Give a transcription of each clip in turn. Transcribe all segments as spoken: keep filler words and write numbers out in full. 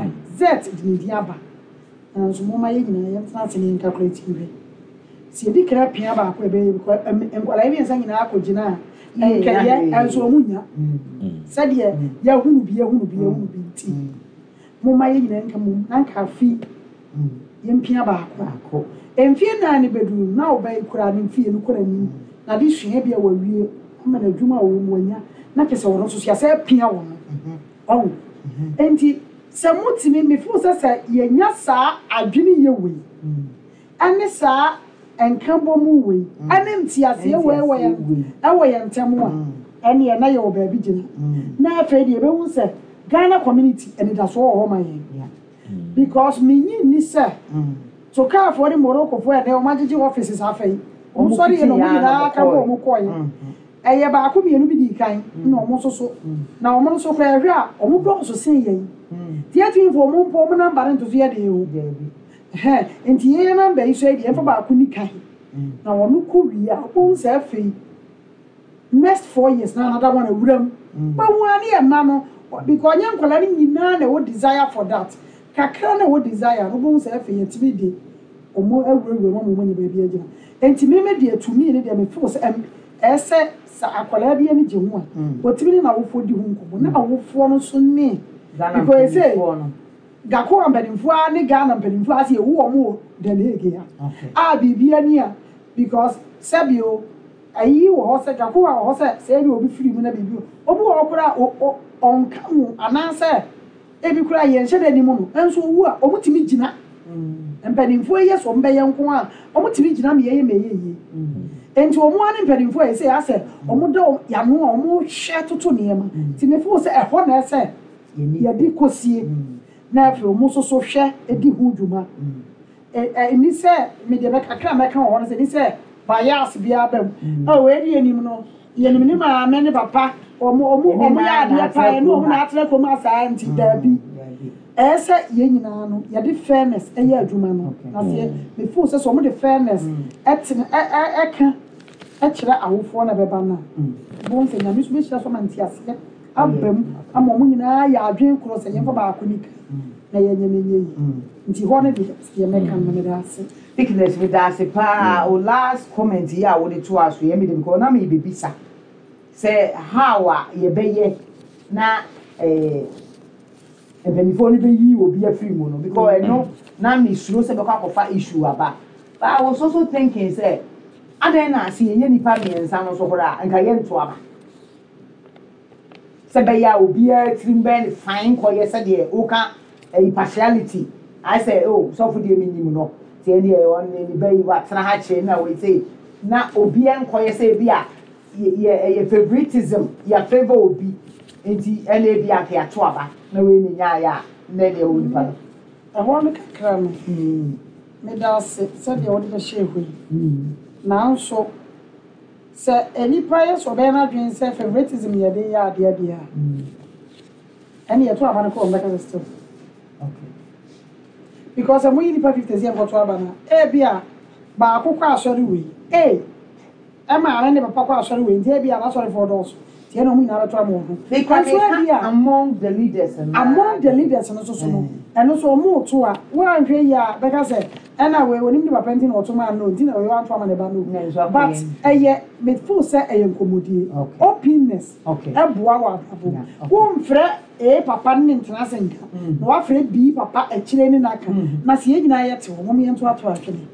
Z de ne din aba, nanso momma yɛn nyinaa yɛntena ase na yɛn calculate nhwɛ. Sɛ yɛdi kan apia baako a, ɛbɛyɛ because nkwadaa yi mmiɛnsa nyinaa akɔgyina a, nkɛyɛ ɛnso ɔmo nya sɛdeɛ yɛahunu bi, yɛahunu bi, yɛahunu bi. Nti momma yɛn nyinaa nka mom na nka afi yɛmpia baako. Mfie nan ne bɛduru na ɔbaa yi kura ne mfie no kɔ n'anim na de sua bi a wawie ama n'adwuma a ɔwɔ mu wanya na kyerɛ sɛ ɔno nso so yɛasɛ apia wɔ no ɔho. Nti sɛ motumi mefo sɛ sɛ yɛnya saa adwene yɛ wei ɛne saa nkabɔ mu wei ɛne nteaseɛ wei wɔ yɛn ɛwɔ yɛn ntam a, ɛneɛ na yɛwɔ baabi gyina. Na afei deɛ, yɛbɛhu sɛ Ghana community anidasoɔ wɔ hɔ ma yɛn because menyi nni sɛ Tokaafoɔ ne Moroccofoɔ ɛnɛ wɔn agyegye offices. Afei wɔn sɔre yɛ na wɔn nyinaa ka bɔ wɔn kɔɔɛ. Ɛyɛ baako mmienu bi di kan na wɔn nso so na wɔn nso koraa ɛhwɛ a, wɔn dɔɔso sen yɛn. Tie tumi fo wɔn mpo wɔn number no nto so yɛ den o. Ɛhɛn, nti yɛn number yi so yɛ deɛ, yɛmfa baako ni kan na wɔn kɔ wie a, wɔn sɛ afei next four years na another one awura mu bɛhu a ne yɛ mma no, because ɔnyɛ nkwadaa no nyinaa na ɛwɔ desire for that. Kakra na ɛwɔ desire no, wɔn sɛ afei yɛtumi de wɔn awurawura mu ama wɔn anya baabi agyina. Nti mímí deɛ, tumi ne deɛ, me feel sɛ ɛm ɛsɛ sɛ akwadaa bi ani gye ho a, wɔtumi ne n'awofoɔ di ho nkɔmɔ na awofoɔ no nso ne because sɛ GAKOA mpanimfoɔ a ne Ghana mpanimfoɔ ase ewu wɔn wɔ Den Hague ha a, biribi ani a, because sɛbio ayi wɔ hɔ sɛ GAKOA wɔ hɔ sɛ sɛ ebi obi firi mu na biribi obi wɔ hɔ koraa o o ɔnka ho anaasɛ ebi koraa yɛn hyɛ dɛ anim no nso owu a, wɔn tumi gyina. Mpanimfoɔ yi yɛ sɛ wɔn bɛyɛ nko a, wɔn tumi gyina ma yɛyɛ ma ɛyɛ yie. Nti wɔn ani mpanimfoɔ yi sɛ asɛ wɔn da yano a wɔn hwɛ toto nneɛma. Nti mefo sɛ ɛhɔ na ɛsɛ yɛde kɔsie na afei wɔn nso so hwɛ edi ho dwuma. ɛ ɛ ni sɛ mede bɛ kakra mɛka wɔ hɔ no sɛ ni sɛ bias biara bɛ mu ɔ wei di anim no, yɛnim ne maame ne papa, ɔmo ɔmo ɔmo yɛ adeɛ paa ɛne ɔmo na atena kurom asaa. Nti daabi, ɛyɛ sɛ yɛn nyinaa no yɛde fairness ɛyɛ adwuma no. Na sɛ mefo sɛ sɛ ɔmo de fairness ɛtena ɛ ɛ ɛka ɛkyerɛ awofoɔ na ɛbɛba no a, bɔn sɛ Nyame so bɛhyia so ama nteaseɛ aba mu ama ɔmo nyinaa yɛ adwene korɔ sɛ yɛmfa baako ni kan na yɛnyɛ no nyɛ yi. Nti hɔ no deɛ, yɛ mɛka no, meda ase. Thickness, meda ase paa. O last comment yi a wode to aso yɛ mede because na mebɛbisa sɛ how a yɛbɛyɛ na eh, mpanimfoɔ no bɛyi obi afiri mu no, because ɛno na mesuro sɛ bɛkɔ akɔfa issue aba. But I was also thinking sɛ adɛn na ase yɛnyɛ nipa mmiɛnsa no so koraa nka yɛnto aba sɛ bɛyɛ a obiara tirim bɛyɛ ne fine kɔyɛ sɛdeɛ woka ɛyi partiality ayɛ sɛ o sɔfo deɛ mi nim no tiɛ deɛ ɔne ne ba yi watena ha kyerɛ na wei sɛ na obiara nkɔyɛ sɛ ebi a yɛ yɛ ɛyɛ favouritism, yɛ favour obi. Nti ɛna ebi a nka yɛato aba na wei ne nyaayɛ a na deɛ ɛwɔ nipa no. Ɛhɔ no kakra no, meda ase sɛdeɛ wode bɛhyɛ hɔ yi. Nanso sɛ nipa yɛ sɛ ɔbɛyɛ n'adwene sɛ favouritism yɛde yɛ adeɛ deɛ a, ɛne yɛto aba no kɔ, wɔn bɛka sɛ still because sɛ moyi nipa fifty sɛ yɛnkɔto aba no a, ebi a baako kɔ asɔre wei ee ɛma ne ne papa kɔ asɔre wei, nti ebi a n'asɔrefoɔ dɔɔso nti ɛna ɔmo nyinaa bɛto ama wɔn ho. Meka Nso ebi meka a among the leaders no. Among the leaders no soso no, ɛno nso ɔmo to a, woanhwɛ yi a, bɛka sɛ ɛna wei onim ne papa nti na ɔto maa no, nti na wei wanto ama ne ba no. Na nso akɔyɛ But nti. ɛyɛ mefo sɛ ɛyɛ nkɔmmɔdie. Okay. Openness Okay. ɛboa wɔ abrabɔ. Yeah, okay. Womfrɛ A papa ne ne ntena ase nka na wafrɛ B papa akyire ne n'aka na sɛ yɛn nyinaa yɛte hɔ, mom yɛnto ato atwene.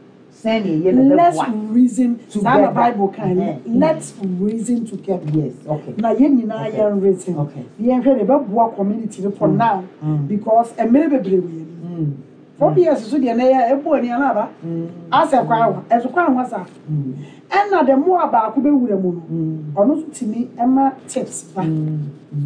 Sɛnea yɛ na Let's bɛboa reason saa na together. Bible kan, Mhm. let's reason together. Yes okay Na yɛn nyinaa Okay. yɛn reason Okay. na yɛnhwɛ de bɛboa community no for now Mm. because mmerɛ bebree wɔ yɛn anim. Mm. Four years so deɛ, na yɛ ɛbɔ ani ana aba Mm. asɛ kwan wa ɛso kwan wa saa. Mm. Ɛna the more a baako bɛwura mu no, Mm. ɔno nso tumi ɛma tips ba Mm.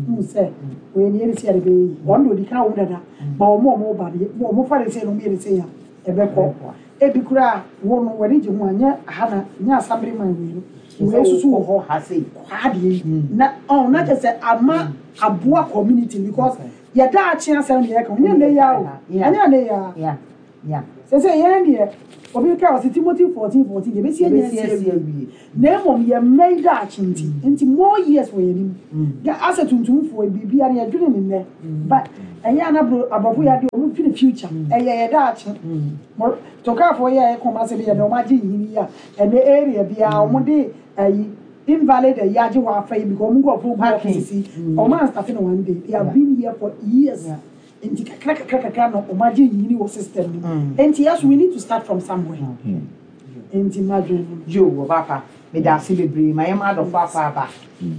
hu sɛ wɔyɛ ne yɛde si yɛde bɛyɛ yi. Ɔno de odi kan wɔm dada ba, wɔn a wɔn ba de wɔn fa de sɛ no, wɔn yɛ de sɛ ya ɛbɛkɔ. Ebi koraa wo no wɔde gye ho a, nyɛ aha na nyɛ assembly man wei no, wei soso wɔ hɔ ha sei. Kwaa deɛ yi na ɔn na kyerɛ sɛ ama aboa community because Okay. yɛda akye asɛm deɛ yɛka nyɛ ne ya o. Yeah. Ɛnyɛ ne ya. Yeah. Yeah. Sɛ sɛ yɛn deɛ, obi ka ɔsɛ Timothy fourteen fourteen, yɛbɛsi anya Yɛbɛsi asi asi awie. Awie. Na mmom yɛ mma yi daakye nti nti more years wɔ yɛn anim. Ga asɛ tuntumfoɔ yi, biribiara no yɛdwene ne nnɛ, but ɛnyɛ ana bro, aborɔfo yɛ adeɛ, ɔmo dwene future, ɛyɛ yɛ daakye. Mo- tokaafoɔ yɛ a ɛkɔm asɛ bi yɛ dɛ ɔmo agye nhini yi a, ɛnɛ area biara ɔmo de ɛyi invalid ɛyi agye hɔ afa yi because ɔmo nkurɔfoɔ gu Parking. offices yi, ɔmo anstart no one day, they have been here for years. Yeah. Nti kakra kakra kakra na ɔmo agye nhini wɔ system no mu. Nti yes, we need to start from somewhere. Nti madwene no. Yo, wɔbaapa, meda ase bebree. Ma yɛma adɔfo akɔ aba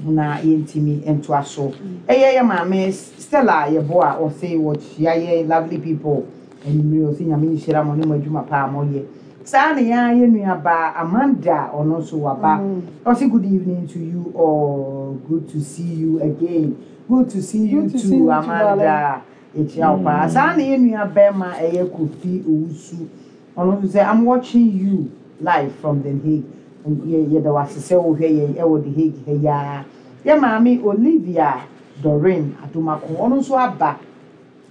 na yɛntimi ntoa so. Ɛyɛ yɛ maame Stella Yɛbo a ɔse wɔkyia yɛ lovely people anwummere. Ɔse Nyame nhyira mo ne mo adwuma paa a moyɛ. Saa ne yɛn yɛ nuabaa Amanda, ɔno nso waba. Ɔse good evening to you all, good to see you again. Good to see you Good to too, see you too. Amanda, yɛkyia wo paa. Saa ne yɛ nua bɛrima ɛyɛ Kofi Owusu, ɔno nso sɛ "I'm watching you live from The Hague." Yɛ yɛda wo ase sɛ wohwɛ yɛn ɛwɔ The Hague ha yaa. Yɛ maame Olivia Doreen Adomako, ɔno nso aba.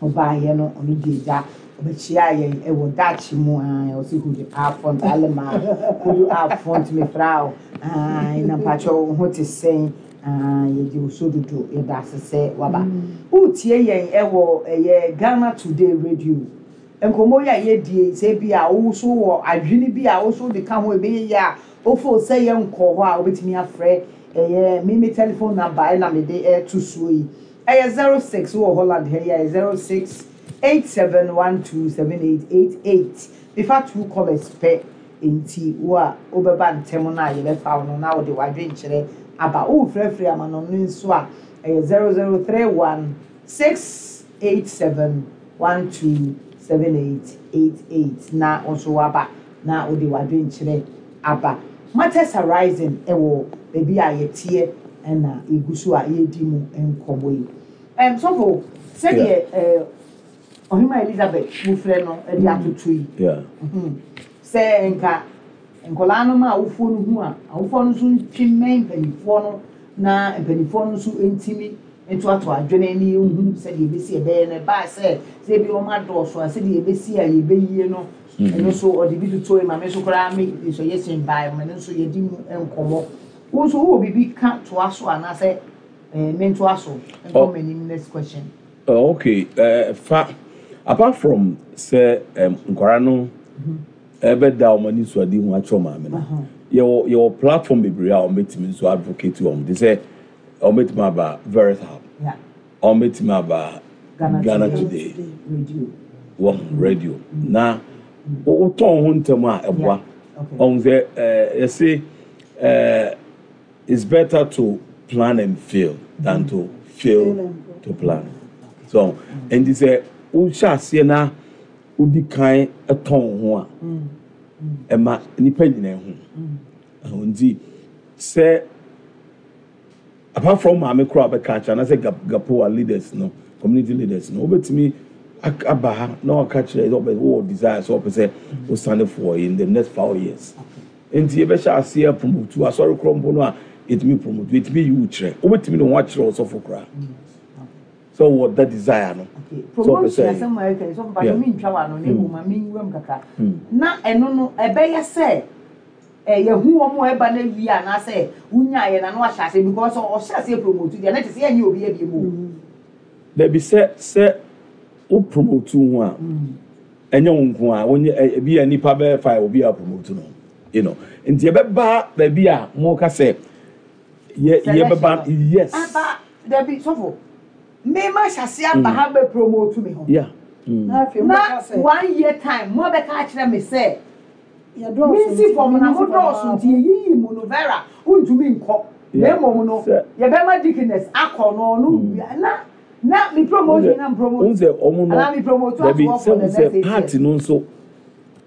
Ɔbaayɛ no, ɔno di agya ɔbɛkyia yɛn ɛwɔ Dutch mu aa. Ɔsi "Goede avond allemaal." Goede avond, mefrau aa, na mpakyɛ wo ho te sɛn aa? Yɛgye wo so dodo. Yɛda ase sɛ waba. Wotie yɛn ɛwɔ ɛyɛ Ghana Today Radio. Nkɔmmɔ yi a yɛdie, sɛ bi a wo so wɔ adwene bi a wo so de ka ho, ɛbɛyɛ yie a wofo sɛ yɛnkɔ hɔ a, wobɛtumi afrɛ ɛyɛ me me telephone number ɛna mede ɛto soɔ yi. Ɛyɛ zero six, wɔ Holland ha yi a, ɛyɛ zero six eight seven one two seven eight eight eight. Mefa two callers pɛ, nti wo a wobɛba ntɛm no a yɛbɛfa wo no na wode w'adwenkyerɛ aba. Wofrɛfrɛ ama no no nso a, ɛyɛ zero zero three one six eight seven one two seven eight eight eight na wo nso waba na wode w'adwenkyerɛ aba. Matters arising ɛwɔ baabi a yɛteɛ ɛna egu so a yɛredi mu nkɔmmɔ yi. ɛm sɔfo, sɛdeɛ ɛɛ Ɔhema Elizabeth mufrɛ no ɛde atoto yi, Yeah. mhm, sɛ nka nkɔlaa no ma awofoɔ no hu a, awofoɔ no nso ntwe mmɛn mpanimfoɔ no na mpanimfoɔ no nso ntimi ntoato adwene ne yɛnhu sɛdeɛ ebesi ɛbɛyɛ no. Ɛbaa sɛ sɛ ebi wɔn adɔɔso a, sɛdeɛ ebesi a yɛbɛyie no, ɛno nso ɔde bi toto yi. Maame nso koraa me suggestion baa mu, ɛno nso yɛdi mu nkɔmmɔ. Wo nso wowɔ biribi ka toa so anaasɛ ɛɛ mentoa so nkɔ Oh. m'anim, next question? Uh, okay. Uh, fa apart from sɛ um, nkwaraa no ɛbɛda wɔn ani so ade ho akyerɛ maame no, yɛwɔ yɛwɔ platform bebree a wɔn bɛtumi nso advocate wɔn de sɛ wɔn bɛtumi aba Veris Hub, yeah wɔn bɛtumi aba Ghana Ghana Today. Today Radio. Wɔn radio na wotɔn ho ntɛm a, ɛboa. Okay. Ɔn sɛ ɛɛ yɛse ɛɛ it's better to plan and fail than to fail Fail and to plan. So nti sɛ wohyɛ aseɛ na wodi kan tɔn ho a, ɛma nipa nyinaa hu. Ɛho nti sɛ apart from maame koraa bɛka akyerɛ anaasɛ gap gapoa leaders no, community leaders no, wobɛtumi ak- aba ha na waka kyerɛ sɛ ɔbɛ wowɔ desire sɛ ɔpɛ sɛ wosane for in the next five years. Nti yɛbɛhyɛ aseɛ promote asɔre korɔ mpo no a, yɛtumi promote, yɛtumi yi wo kyerɛ, wobɛtumi ne ho akyerɛ ɔsɔfo koraa sɛ wowɔ that desire no. Okay. Sɛ ɔpɛ Promotion sɛ- asɛm a ɛka yi, sɔfo, Yeah. pàtó mi ntwa wa no na emu ma mi nwura mu kakra. Mm. Na ɛno no ɛbɛyɛ sɛ ɛ yɛhu wɔn a ɛba na wie anaasɛ wunya yɛ na no ahyɛ ase, because ɔhyɛ ase promote deɛ na kyerɛ sɛ yɛnyɛ obi abie mu o. Dabi, sɛ sɛ wo promote ho a, ɛnyɛ wo nko a wonyɛ. ɛ- ebi a nipa bɛyɛ five obi a promote no you know nti yɛbɛba baabi a mo ka sɛ yɛ yɛbɛba, yes. Aba dabi, sɔfo, mmɛma hyɛ ase aba ha bɛ promote mi ho. yeah mm. Na afei Na mbɛka sɛ one year time mo bɛka akyerɛ mi sɛ yɛdɔɔso. Minsi fam na mo nti dɔɔso nti yɛyiyi mu no, Vera ntumi nkɔ na Yeah. emom no Sɛ- yɛbɛma deaconess akɔ no ɔno na na mi promote na mi promote N sɛ ɔmo no anaa mi promote dabi ato hɔ sɛ for the n next eight sɛ party years. no nso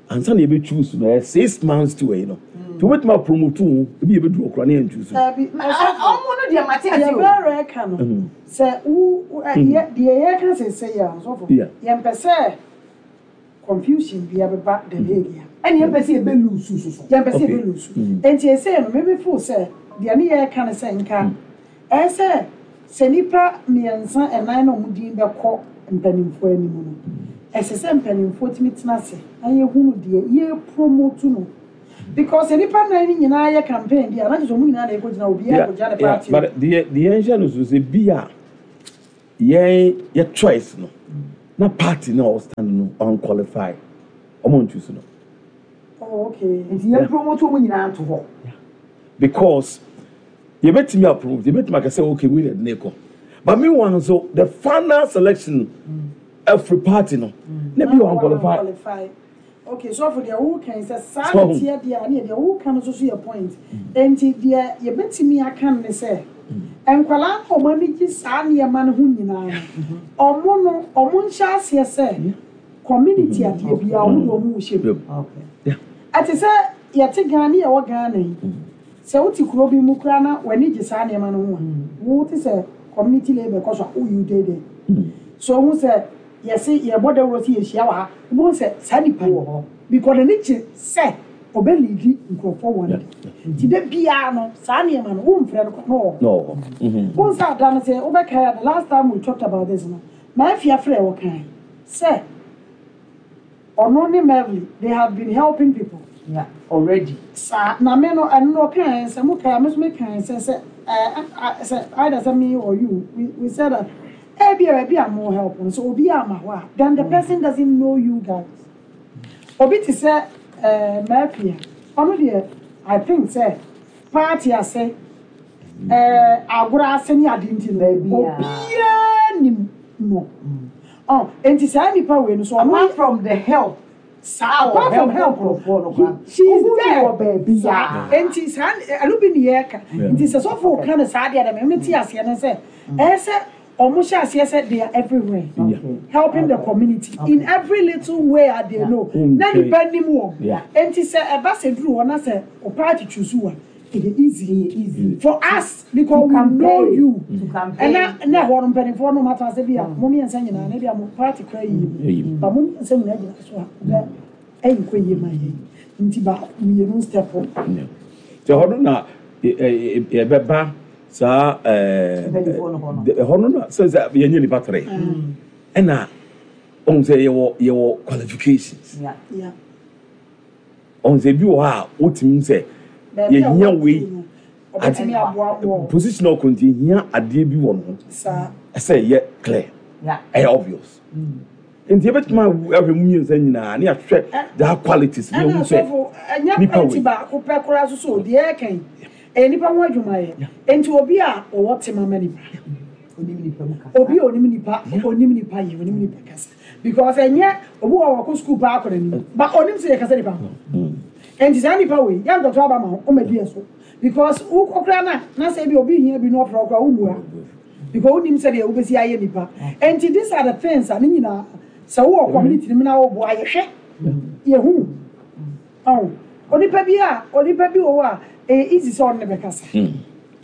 ansa na yɛbɛ choose no, ɛyɛ six months to ɛyi no, nti wobɛtumi apromote ho, ebi yɛbɛdu ɔkora ne yɛn choose. Dabi. Ma- ɔ- ɔmo no deɛ mate ase Deɛ o. bɛrɛ ka no sɛ wo wo- ɛ, yɛ- deɛ yɛka sese yɛ a, ɔsɔfo, Yeah. yɛmpɛ sɛ confusion bi abɛba the Hague a. Ɛne yɛmpɛ sɛ yɛbɛ lose soso. Yɛmpɛ sɛ Okay. yɛbɛ lose. Nti ɛsɛ no meme feel sɛ deɛ ne yɛreka no sɛ nka ɛyɛ sɛ sɛ nipa mmiɛnsa ɛnan na ɔmo din bɛkɔ mpanimfoɔ anim no, Ɛsɛ sɛ mpanimfoɔ tumi tena ase na yɛhunu deɛ yɛ promote no, because nipa nan no nyinaa yɛ campaign deɛ, anakyɛ sɛ ɔmo nyinaa na ɛkɔgyina, obiara kɔgyina ne party. But deɛ deɛ yɛnhyɛ no so sɛ bi a yɛn yɛ choice no na party na ɔwɔ stand no unqualify, ɔmo ntu so no. Oh, okay. Nti yɛn promote wɔn nyinaa nto hɔ. Because yɛbɛtumi approve, yɛbɛtumi aka sɛ okay, we na ne kɔ, but meanwhile nso the final selection every party no na bi unqualify. Qualify. Okay, so for deɛ woka yi sɛ saa So- ne teɛ deɛ a ne deɛ woka no nso so yɛ point. Nti deɛ yɛbɛtumi aka no ne sɛ nkwalaa no a ɔmo ani gye saa nneɛma no ho nyinaa no, ɔmo no ɔmo nhyɛ aseɛ sɛ community adeɛ biara, ɔmo de ɔmo hyɛ mu. Okay. Yeah. Ɛte sɛ yɛte Ghana, yɛwɔ Ghana yi, sɛ wote kuro bi mu koraa na w'ani gye saa nneɛma no ho a, wote sɛ community labour kɔ so a, woyi deede so ohun sɛ yɛse yɛbɔ dawuro sɛ yɛhyia wɔ ha, wobɛhu sɛ saa nipa wɔ hɔ because n'ani gye sɛ ɔbɛlead nkurɔfoɔ wɔ ne nti de biara no saa nneɛma no womfrɛ no kɔ na ɔwɔ hɔ. No. Mm-hmm. Wɔn sɛ ada no sɛ wobɛkae a, the last time we talked about this no, maafia frɛ wɔ kan sɛ ɔno ne Melvin, they have been helping people. Yeah, already. Saa na me no, ɛno no ɔkae sɛ mo kae, me nso mekae sɛ sɛ ɛɛ ɛ sɛ either sɛ me or you, we we said that ebi a baabi a mo help no so obi ama hɔ a, then the person doesn't know you guys. Obi te sɛ ɛɛ maafia, ɔno deɛ, I think sɛ party ase, ɛɛ agorɔ ase ne ade nti no, Baabi a- obiara nim no ɔ. Nti saa nipa wei no so ɔno Apart from the help. Saa, apart from help nkurɔfoɔ no koraa. she is Ohu there wɔ baabi saa a. Nti saa ɛno bi ne yɛreka. Yeah. Nti sɛ sɔfo ka no saa deɛ dɛ mɛmɛ ti aseɛ no sɛ ɛyɛ sɛ ɔmo hyɛ aseɛ sɛ they are everywhere Yeah. helping the community in every little way a they know na Okay. nipa nim wɔn. Yeah. Nti sɛ ɛba sɛ duru hɔ na sɛ o party choose wa, ɛyɛ easy easy. for us because To we know campaign. you. To campaign. Ɛna na ɛhɔ no mpanimfoɔ no mata sɛ bi a mo mmiɛnsa nyinaa na bi a mo party kora yie Yie. mu ba, mo mmiɛnsa nyinaa gyina so a ɔbɛ ɛyi nkɔ yie ma yɛ, nti ba mmienu step up. Yeah. Nti ɛhɔ no na ɛ- ɛ- ɛ- yɛbɛba saa ɛɛ Mpanimfoɔ no hɔ no. Ɛhɔ no na sɛ sɛ yɛnyɛ nipa tere ɛna ɔhun sɛ yɛwɔ yɛwɔ qualifications. Yeah. Yeah. Ɔhun sɛ ebi wɔ hɔ a wotumi sɛ Baabi a yɛhia wɔte wei no, ɔbɛtumi aboa wɔ position a ɔkɔ nti yɛhia adeɛ bi wɔ ne ho. Saa. Ɛsɛ yɛ clear. Yeah. Ɛyɛ obvious, nti yɛbɛtumi ahwɛ mu mmiɛnsa nyinaa ne yɛahwɛ that qualities ne ɛna yɛhu sɛ asɔfo ɛnyɛ nipa party wei. Baako pɛ koraa so so deɛ ɛka yi ɛyɛ nipa ho adwumayɛ, nti obi a ɔwɔ tema ma nipa, Onim nipa mu kasa. Obi a onim nipa, onim nipa yɛ, onim nipa kasa, because ɛnyɛ obi wɔ wɔkɔ sukuu paa akɔ n'anim ba onim sɛ yɛkasa nipa ho. Nti saa nipa wei yɛnkɔtɔ aba ma ho ɔma di so because wokɔkora na na sɛ bi obi hia bi na ɔfrɛ ɔkora womua because wonim sɛdeɛ wobɛsi ayɛ nipa. Nti these are the things a ne nyinaa sɛ wowɔ community no mu na woboa, yɛhwɛ yɛhu ɔn onipa bi a onipa bi wɔ hɔ a ɛyɛ easy sɛ ɔno ne bɛkasa.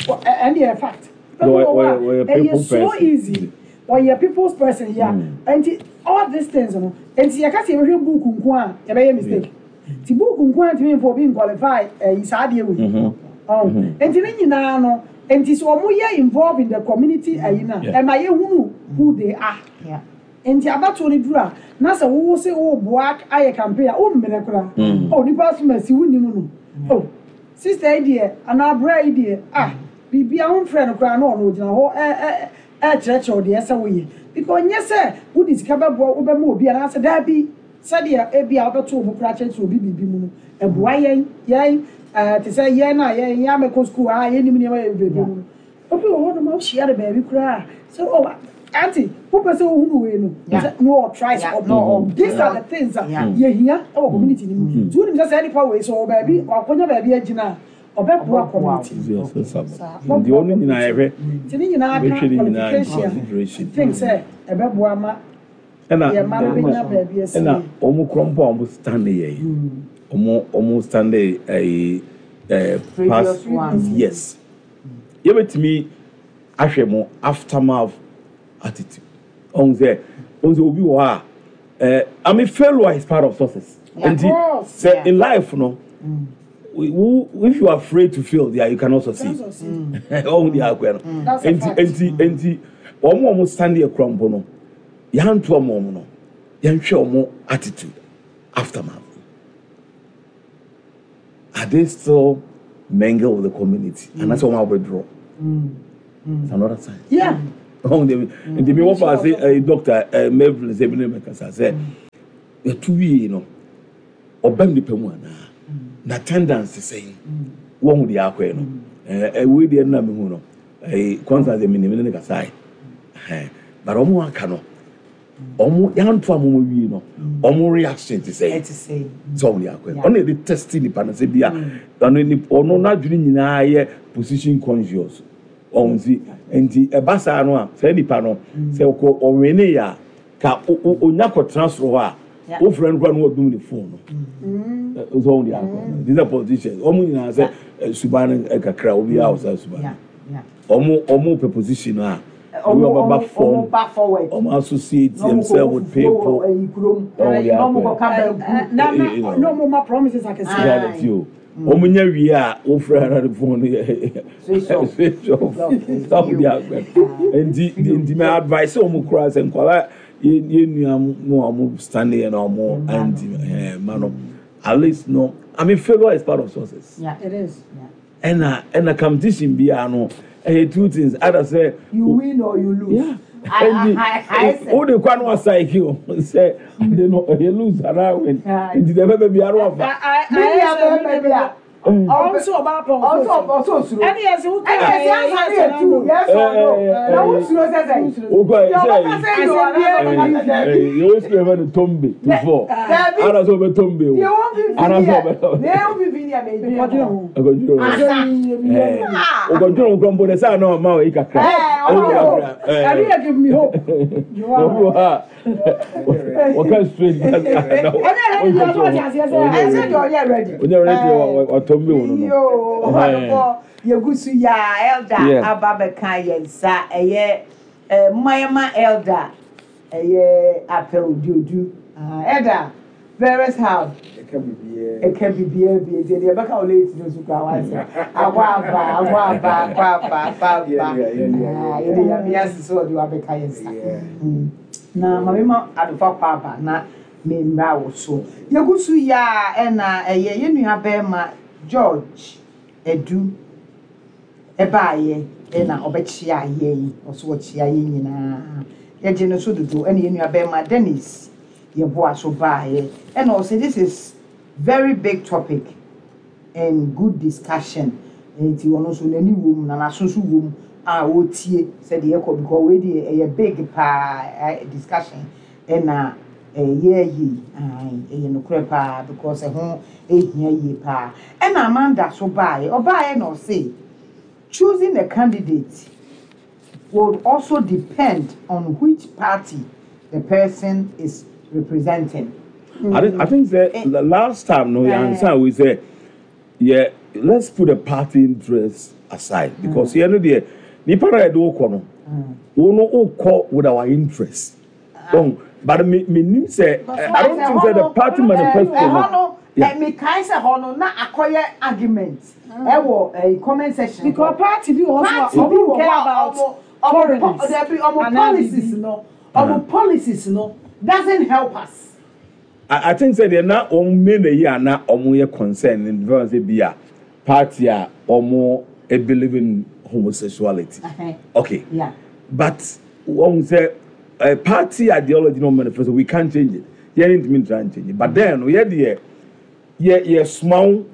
Wɔ- ɛ- ɛne yɛ fact. Nipa bi wɔ hɔ a Ɔyɛ- ɔyɛ ɛyɛ people so person. easy, ɔyɛ people's person ya. Nti all these things no, nti yɛka sɛ yɛbɛhwɛ book nko a, yɛbɛyɛ mistake. Nti book nko a ntumi nfa obi nqualify ɛyi saa adeɛ wei ɔn. Nti ne nyinaa no, nti sɛ ɔmo yɛ involved in the community ɛyi na Yeah. ɛma yɛhunu who they are. Yeah. Nti abatoɔ no duru a, na sɛ wowo sɛ woboa ayɛ campaign a, wommerɛ koraa. Oh, nipa asom asi wonim no, oh, sister yi deɛ anaa abra yi deɛ, ah, biribia womfrɛ no koraa na ɔno ogyina hɔ ɛ- ɛ- ɛkyerɛkyerɛ wo deɛ ɛsɛ woyɛ, because nyɛ sɛ wode sika bɛboa wobɛma obi anaasɛ daabi, sɛdeɛ ebi a wobɛto wo bo koraa kyerɛkyerɛ obi biribi mu no, ɛboa yɛn yɛn ɛɛ te sɛ yɛn a yɛn yɛn amɛkɔ sukuu a yɛnim nneɛma yɛ bebree mu no, obi wɔ hɔ nom a wohyia no baabi koraa sɛ, oh, aunty, wopɛ sɛ wohunu wei no Yeah. sɛ no ɔtry sɛ Yeah. ɔbɔ. No, These are the things a Yeah. yɛhia ɛwɔ community no mu. Nti wonim sɛ saa nipa wei sɛ ɔwɔ baabi, wakɔnya baabi agyina a, ɔbɛboa community no. Yes, yes, yes. Saa. Nti ɔno nyinaa yɛhwɛ. Nti ne nyinaa ka Bɛhwɛ ne nyinaa in qualification consideration. Think sɛ ɛbɛboa ma ɛna yɛ mma no bɛnya baabi asi. Ɛna ɔmo korɔ mpo a ɔmo stand yɛ yi, ɔmo ɔmo stand ɛyi ɛɛ Previous ones. Yes, yɛbɛtumi ahwɛ mo aftermath attitude. Ɔmo sɛ ɔmo sɛ obi wɔ hɔ a ɛɛ I mean, failure is part of success. Yeah. Nti Of course. sɛ Yeah. in life no, wo if you are afraid to fail there, you cannot succeed. Can't succeed. Ɔmo di akɔɛ no. That's a Nti fact. nti nti wɔn a wɔn stand yɛ kura mpo no, yanto ɔmo ɔmo no Yɛnhwɛ ɔmo attitude aftermath. Are they still mingle with the community? And that's why we withdraw. It's another sign. Yeah. Ɔn de nti mi wɔfa ase ɛɛ doctor ɛɛ Melvin sɛ ebi ne mɛ kasa sɛ yɛtu wie no, ɔbɛn nipa mu anaa na attendance sɛn wɔn ho deɛ akɔɛ no ɛɛ ɛwei deɛ nna mi hu no, ɛɛ Constance mi nim ne ne kasa yi ɛhɛn, but ɔmo aka no, ɔmo yanto a mo wie no, ɔmo reaction ti sɛn? Ɛte sɛ Sɛ ɔmo de akɔɛ, ɔno yɛ de test nipa no sɛ bi a ɔno nipa ɔno n'adwene nyinaa yɛ position conscious. Ɔmo si nti ɛba saa no a, saa nipa no sɛ ɔkɔ ɔwene yɛ a ka o o onya kɔtena soro hɔ a, Yeah. ofurɛ no kora no, wɔdum ne phone no. Ɛ sɛ ɔmo de akɔ, these are politicians, ɔmo nyinaa sɛ ɛ suban no ɛ kakra obiara wɔ saa suban Yeah, no. yeah. ɔmo ɔmo pɛ position no a, Ɔmo ɔmo bɛba ɔmo fam, ɔmo ba forward. Ɔmo associate Na ɔmo kɔ themselves with people. Ɛyi kurom. Ɔmo de Na ɔmo akɔ. kɔ ka banku. Na Eh, na you know. na ɔmo ma promises akɛse. Ah. Reality o, ɔmo nya wie a, wofrɛ na de phone no yɛ Switch off. Switch off. Okay. Ɔmo de akɔ. nti nti mɛ advice ɔmo kura sɛ nkɔla yɛ yɛ nua mu a ɔmo stand yɛ na ɔmo anti ɛɛ ma no, at least no, I mean, failure is part of success. Yeah. It is. Yeah. ɛna ɛna competition biara no, ɛyɛ two things: either sɛ You win or you lose. Yeah. I I I I Nti o de kwan wa psyche o sɛ ade no ɛyɛ lose anaa win, nti deɛ bɛbɛ biara wafa. Me nua bɛrima bi a Ɔmo nso ɔbaa pɔn. ɔsɔ ɔsɔ osuro. Ɛne yɛ sɛ wokɔ Ɛna ɛsɛ ansa ne yɛ tu yes or no. Na wo suro sɛ sɛ. Wokɔ Deɛ sɛ ɔbɛka sɛ yi o anaa ɔbɛka sɛ daabi. yɛwɔ sukuu yɛfɛ no tombe to four. Daabi. Ana sɛ ɔbɛ tombe o. Deɛ wɔn fifi Ana sɛ ni yɛ ɔbɛ deɛ wɔn fifi ni yɛ mɛ ebi Ɔdwene ho. Ɔkɔdwene ho. Ɔkɔdwene ho kura mpo de sɛ ana ɔma wɔ yi kakra. Ɛɛ, ɔma Ɔma wɔ. kakra. Ɛɛ. Ɛne yɛ give me hope. Obi wɔ ha wɔka straight. Ɛne yɛ yɛ ɔte aseɛ sɛ Ɛsɛ deɛ ɔyɛ ready. Ɔnyɛ ready, watɔmbe wo no no. Yoo, ɔdɔbɔ yɛgu so yɛ a elder Yeah. aba bɛka yɛn nsa, ɛyɛ ɛɛ mmayɛma elder, ɛyɛ Apɛw Diodu. Ah, elder various how Ɛka biribiara. Ɛka biribiara bi nti deɛ ɛbɛka wɔ late no so kora wase akɔ aba, akɔ aba, akɔ aba, akɔ aba. Yeah, yeah, yeah, yeah, Ah, yeah. yɛde Nyame ase sɛ ɔde wabɛka yɛn nsa. Yeah. Mm. Na maame ma adofa kɔ aba na mmemmra wo so. Yɛgu so yɛ a, ɛna ɛyɛ yɛn nua bɛrima George Edu ɛbaayɛ, ɛna ɔbɛkyia yɛn, ɔso ɔkyia yɛn nyinaa, yɛgye no so dodo. Ɛna yɛn nua bɛrima Dennis yɛboa so baayɛ, ɛna ɔsɛ this is very big topic and good discussion, nti ɔno nso n'ani wɔ mu na n'aso nso wɔ mu a ɔretie sɛdeɛ ɛkɔ, because wei deɛ ɛyɛ big paa ɛ discussion ɛna ɛyɛ yie. Ae, ɛyɛ nokorɛ paa because ɛho ehia yie paa. Ɛna Amanda so baayɛ, ɔbaayɛ na ɔse choosing a candidate would also depend on which party the person is representing. I think I think that the last time no Eh. answer we say, yeah, let's put the party interest aside because mm. you know the nipa na yɛde wokɔ no, wo no wokɔ with our interest. Um, but me me nim sɛ I don't think say the party manifesto ɛhɔ no. no Yeah. mekae sɛ hɔ no na akɔyɛ argument ɛwɔ ɛɛ comment section. Because party bi wɔ hɔ party so a bi ɔmo wɔ care hɔ a about ɔmo ɔmo foreigners. dabi, ɔmo Anaa policies biribi. no, ɔmo policies no doesn't help us. I, I think say deɛ na wɔn main yi a na wɔn yɛ concern in terms of bi a party a wɔn believe in homosexuality. Uh-huh. Okay. Yeah. But wɔn sɛ uh, party ideology no manifesto, we can't change it. Yɛn ntumi try and change it. But then yɛ deɛ yɛ yɛ soma wo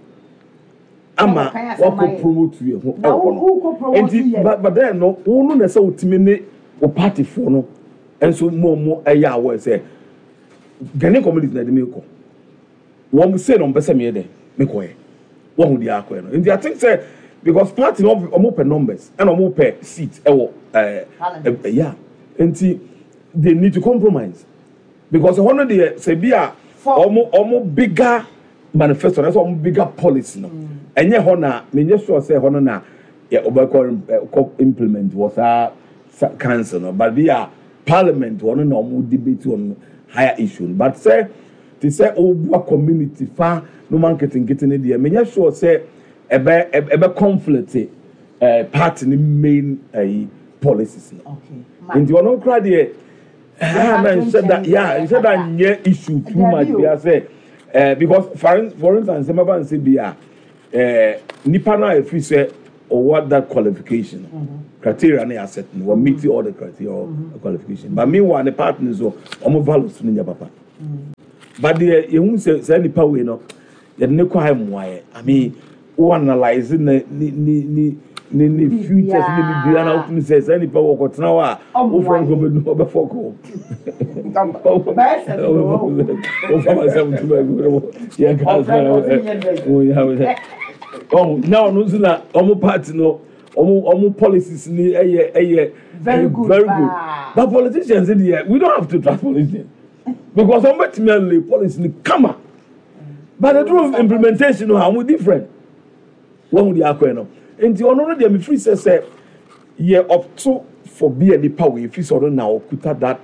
ama Wɔkɔ asɛm wakɔ ayɛ. promote yɛ ho Na ɛwɔ wo- no. wokɔ promote Nti yɛ. but but then no, wo no na sɛ wotumi ne wo party foɔ no nso mu ɔmo ɛyɛ awɔ sɛ Ghanaian community na ɛde mi kɔ, wɔn se na wɔn pɛ sɛ meyɛ dɛ mekɔ yɛ wɔn ho deɛ akɔ yɛ no. Nti I think sɛ because party no, ɔmo pɛ numbers ɛna ɔmo pɛ seat ɛwɔ ɛɛ Parliament. ɛ yeah, nti they need to compromise because ɛhɔ no deɛ sɛ bi a For- ɔmo ɔmo bigger manifesto na sɛ ɔmo bigger policy no, ɛnyɛ hɔ na menyɛ sure sɛ ɛhɔ no na yɛ ɔbɛkɔ ɛ kɔ implement wɔ saa sa council no, but bi a parliament wɔ no na ɔmo debate on higher issue no. But sɛ te sɛ ɔbua community fa no ma nketenkete no deɛ, menyɛ sure sɛ ɛbɛ ɛbɛ conflict ɛɛ party ne main ɛyi policies no. Okay. Nti ɔno kora deɛ Ah, na nhyɛ da, yeah, nhyɛ da nyɛ issue too much bi asɛ ɛɛ because for for instance, mɛba nse bi a ɛɛ nipa na efiri sɛ ɔwɔ that qualification mm -hmm. criteria na yɛ set no, wɔ meet all the criteria mm -hmm. qualification, but meanwhile ne partner so ɔmo values no nyɛ papa mm -hmm. but deɛ yehu sɛ sɛ nipa wei no yɛde ne kɔ ha mmoa yɛ. I mean, wo analyse ne ne ne ne ne ne futures ne biribiara na wotumi sɛ sɛ nipa wɔ kɔtena hɔ a wofrɛ no kɔbɛdu ɔbɛfɔ kɔ wofa ma sɛ wotu baabi yɛka ɔho na ɔno nso na ɔmo party no, ɔmo ɔmo policies ni ɛyɛ ɛyɛ very good, very good. But politicians deɛ, we don't have to trust politicians because ɔmo bɛtumi alay policy ni kama, but the truth of implementation no, ɔmo different. Wɔn de akɔ no nti ɔno no deɛ, mefiri sɛ sɛ yɛ opt for bi a nipa wɔ efiri sɛ ɔno na ɔkuta that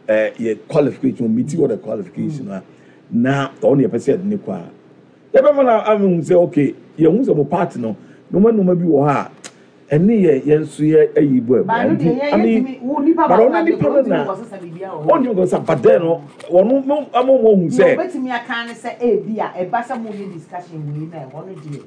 ɛɛ yɛ qualification, meet all the qualification a na ɔno yɛ pɛ sɛ yɛde ne kɔ a, yɛbɛma na amehu sɛ okay, yɛn hu sɛ mo party no nneɛma nneɛma bi wɔ hɔ a ɛne yɛ yɛn nso yɛ ayi bɔ ɛbɔ nti, I mean, but ɔno nipa no na ɔntumi kɔ sɛ, but then no ɔno mo ama mo hu sɛ. Obetumi aka ne sɛ ebi a ɛba sɛ mo yɛ discussion wei na ɛhɔ no deɛ,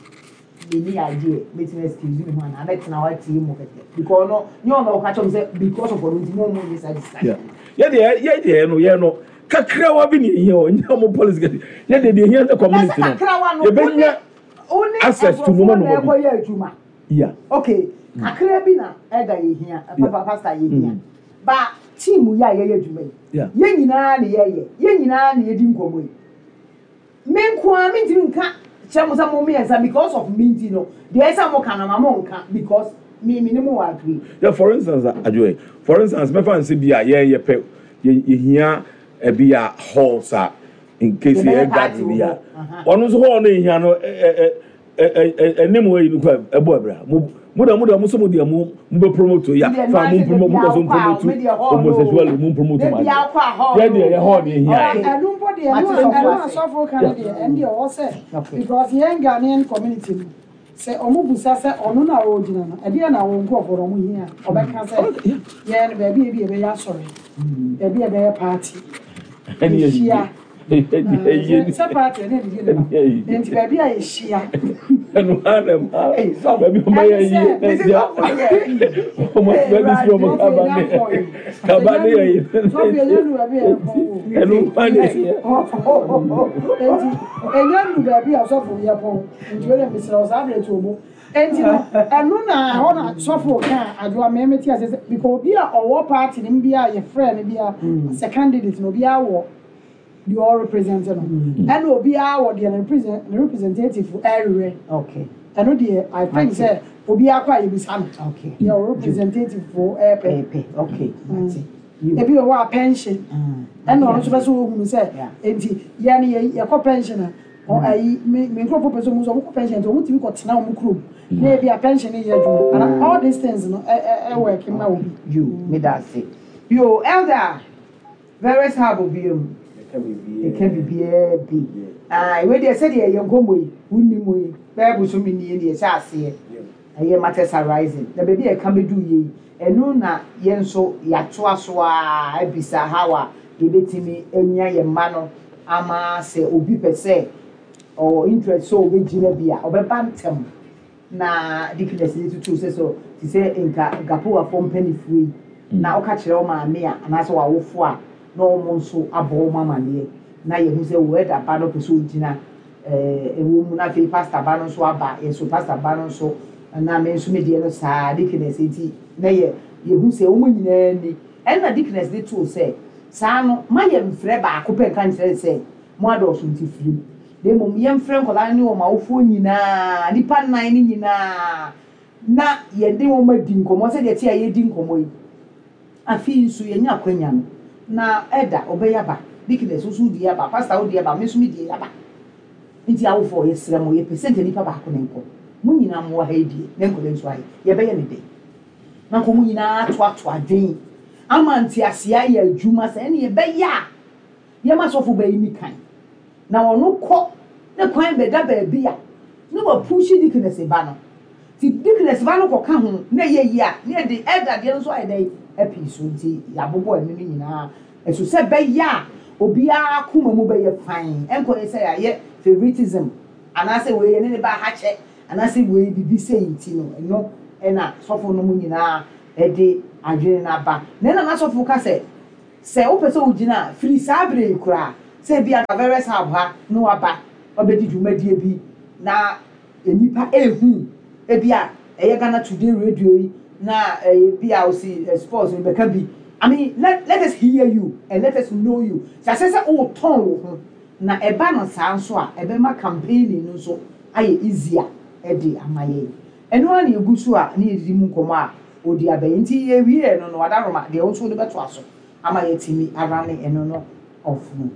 meni idea, metumi excuse me ho ana abɛtena hɔ atie mu kɛkɛ because no nyɛ ɔno ɔka kyerɛ mo sɛ because of ɔno nti mo mo nyɛ saa discussion. Yɛ deɛ yɛ deɛ no yɛ no kakrawa bi na ehia o, nyɛ ɔmo policy kɛse. Yɛ deɛ deɛ ehia sɛ community no yɛbɛnya access to nneɛma nneɛma bi. Ɛkɔ yɛ adwuma. Yeah. Okay, kakra bi na ɛda yɛ hia, papa pastor yɛ hia ba team yɛ a yɛyɛ adwuma yi, yɛn nyinaa na yɛyɛ, yɛn nyinaa na yɛdi nkɔmɔ yi. Me nko ara mentumi nka kyerɛ mo sɛ mo mmiɛnsa because of me nti no deɛ ɛsɛ mo ka no ma mo nka because me me ne mo wɔ agree. Yeah, for instance, adwoe, for instance, mɛfa nse bi a yɛn yɛ pɛ yɛ yɛhia ɛbi a halls a in case yɛ gathering bi a, ɔno nso hall no ehia no ɛ ɛ ɛ ɛ ɛnim wɔ yi no kɔ ɛbɔ ɛbra mo mo da mo da mo so mo deɛ mo mo bɛ promote ya fa mo promote, mo kɔ so promote homosexuality, mo promote ma yɛ deɛ yɛ hall no ehia yɛ. Ɛnu mpo deɛ, ɛnu ɛnu asɔfo ka no deɛ, ɛnu deɛ ɔwɔ sɛ because yɛn Ghanaian community no sɛ ɔmo busa sɛ ɔno na ɔgyina no ɛdeɛ na wɔn nkurɔfoɔ no ɔmo hia, ɔbɛka sɛ yɛn baabi ebi yɛbɛyɛ asɔre, baabi yɛbɛyɛ party yɛhyia sɛ party ɛne ɛdidi ne ba nti baabi a yɛhyia. Ɛnu ha na ma baabi ɔmo yɛ yie ɛdia ɔmo baabi si ɔmo kaba ne kaba ne yɛ yie. Sɔfo, ɛnyɛ nu baabi a yɛpɔn o. Ɛnu ha ne yɛ. Nti ɛnyɛ nu baabi a sɔfo yɛ pɔn nti o de mesrɛ wo saa abirɛ to obo nti no ɛno na ɛhɔ na sɔfo ka adwoa mɛmɛ ti ase sɛ because obi a ɔwɔ party ne bi a yɛfrɛ no bi a sɛ candidate no, obi a wɔ deɛ ɔrepresent no, ɛna obiara wɔ deɛ ne represent ne representative ɛrewɛ. Okay. Ɛno deɛ, I think sɛ obiara kɔ a yɛbisa no Okay. deɛ ɔ representative fo ɛɛpɛ. Ɛpɛ, okay, mate. Ebi wɔ hɔ a pension, ɛna ɔno nso pɛ sɛ ohunu sɛ Yeah. nti yɛn yɛ yɛkɔ pension a ɔ ayi me me nkurɔfoɔ pɛ sɛ ɔmo nso ɔmo kɔ pension nti ɔmo tumi kɔ tena ɔmo kurom na ebi a pension yɛ adwuma ana all these things no ɛ ɛ ɛwɔ ɛkɛ ma obi. You meda ase yo, elder various hub obi mu ɛka biribiara bi. Ah, wei deɛ, sɛdeɛ yɛ nkɔmmɔ yi wonni mu yi bɛyɛ bosome nie deɛ ɛhyɛ aseɛ ɛyɛ matters arising na baabi a ɛka bɛdu yie yi, ɛno na yɛn nso yɛatoa so a abisa how a yɛbɛtumi anya yɛn mma no ama sɛ obi pɛ sɛ ɔwɔ interest sɛ ɔbɛgyina bi a ɔbɛba ntɛm na deaconess ne tutu sɛ so te sɛ nka gapowafoɔ mpanimfoɔ yi na ɔka kyerɛ wo maame a anaasɛ w'awofo a na wɔn nso abɔ wɔn amaneɛ na yɛhu sɛ wɔ ɛda ba no pɛ sɛ ɔgyina ɛɛ ɛwɔ mu na afei pastor ba no nso aba yɛ so pastor ba no nso na me nso me deɛ no saa deaconess nti na yɛ yɛhu sɛ wɔn nyinaa ni. Ɛna deaconess de too sɛ saa no ma yɛ mfrɛ baako pɛ nka nkyerɛ sɛ mo adɔɔso nti firi mu, na mmom yɛmfrɛ nkɔlaa ne wɔn awofoɔ nyinaa, nipa nnan ne nyinaa, na yɛde wɔn adi nkɔmmɔ sɛdeɛ te a yɛdi nkɔmmɔ yi. Afei nso yɛnya akwanya no na ɛda ɔbɛyɛ aba, deaconess nso di aba, pastor wodi aba, me nso mi di aba nti awofoɔ yɛsrɛ mo, yɛpɛ sɛ nka nipa baako ne nkɔ mo nyinaa mo wɔ ha yi die ne nkɔla nso ayɛ yɛbɛyɛ ne dɛ na nkɔ mo nyinaa atoato adwen ama nteaseɛ ayɛ adwuma sɛ ɛne yɛbɛyɛ a yɛma sɔfo bɛyi ni kan na ɔno kɔ ne kwan bɛda baabi a ne wapush deaconess ba no ti deaconess ba no kɔka ho na ɛyɛ yie a ne yɛde ɛda deɛ no nso ayɛ dɛ apii so nti yɛabobɔ ɛno no nyinaa. Ɛso sɛ bɛyɛ a obiara akoma mu bɛyɛ fine, ɛnkɔyɛ sɛ yɛayɛ favoritism anaasɛ wei yɛ ne ne ba ha kyɛ anaasɛ wei bibi sɛ nti no. Ɛno ɛna sɔfo no mu nyinaa ɛde adwene no aba. Na ɛna n'asɔfo ka sɛ sɛ wopɛ sɛ wogyina a, firi saa bere yi koraa sɛ ebi aka various hub ha na waba wabɛdi dwumadie bi na nipa ehu, ebi a ɛyɛ Ghana Today radio yi na ɛyɛ bi a osi sports no bɛka bi. I mean, let let us hear you and let us know you. Sɛ asɛ sɛ wotɔn wo ho na ɛba no saa nso a, ɛbɛma campaigning no nso ayɛ easier ɛde ama yɛn. Ɛno ara na egu so a ne yɛdidi mu nkɔmɔ a odi abɛn nti yɛwie no no Adaroma deɛ, wo nso wode bɛto aso ama yɛtumi ara ne ɛno no off no.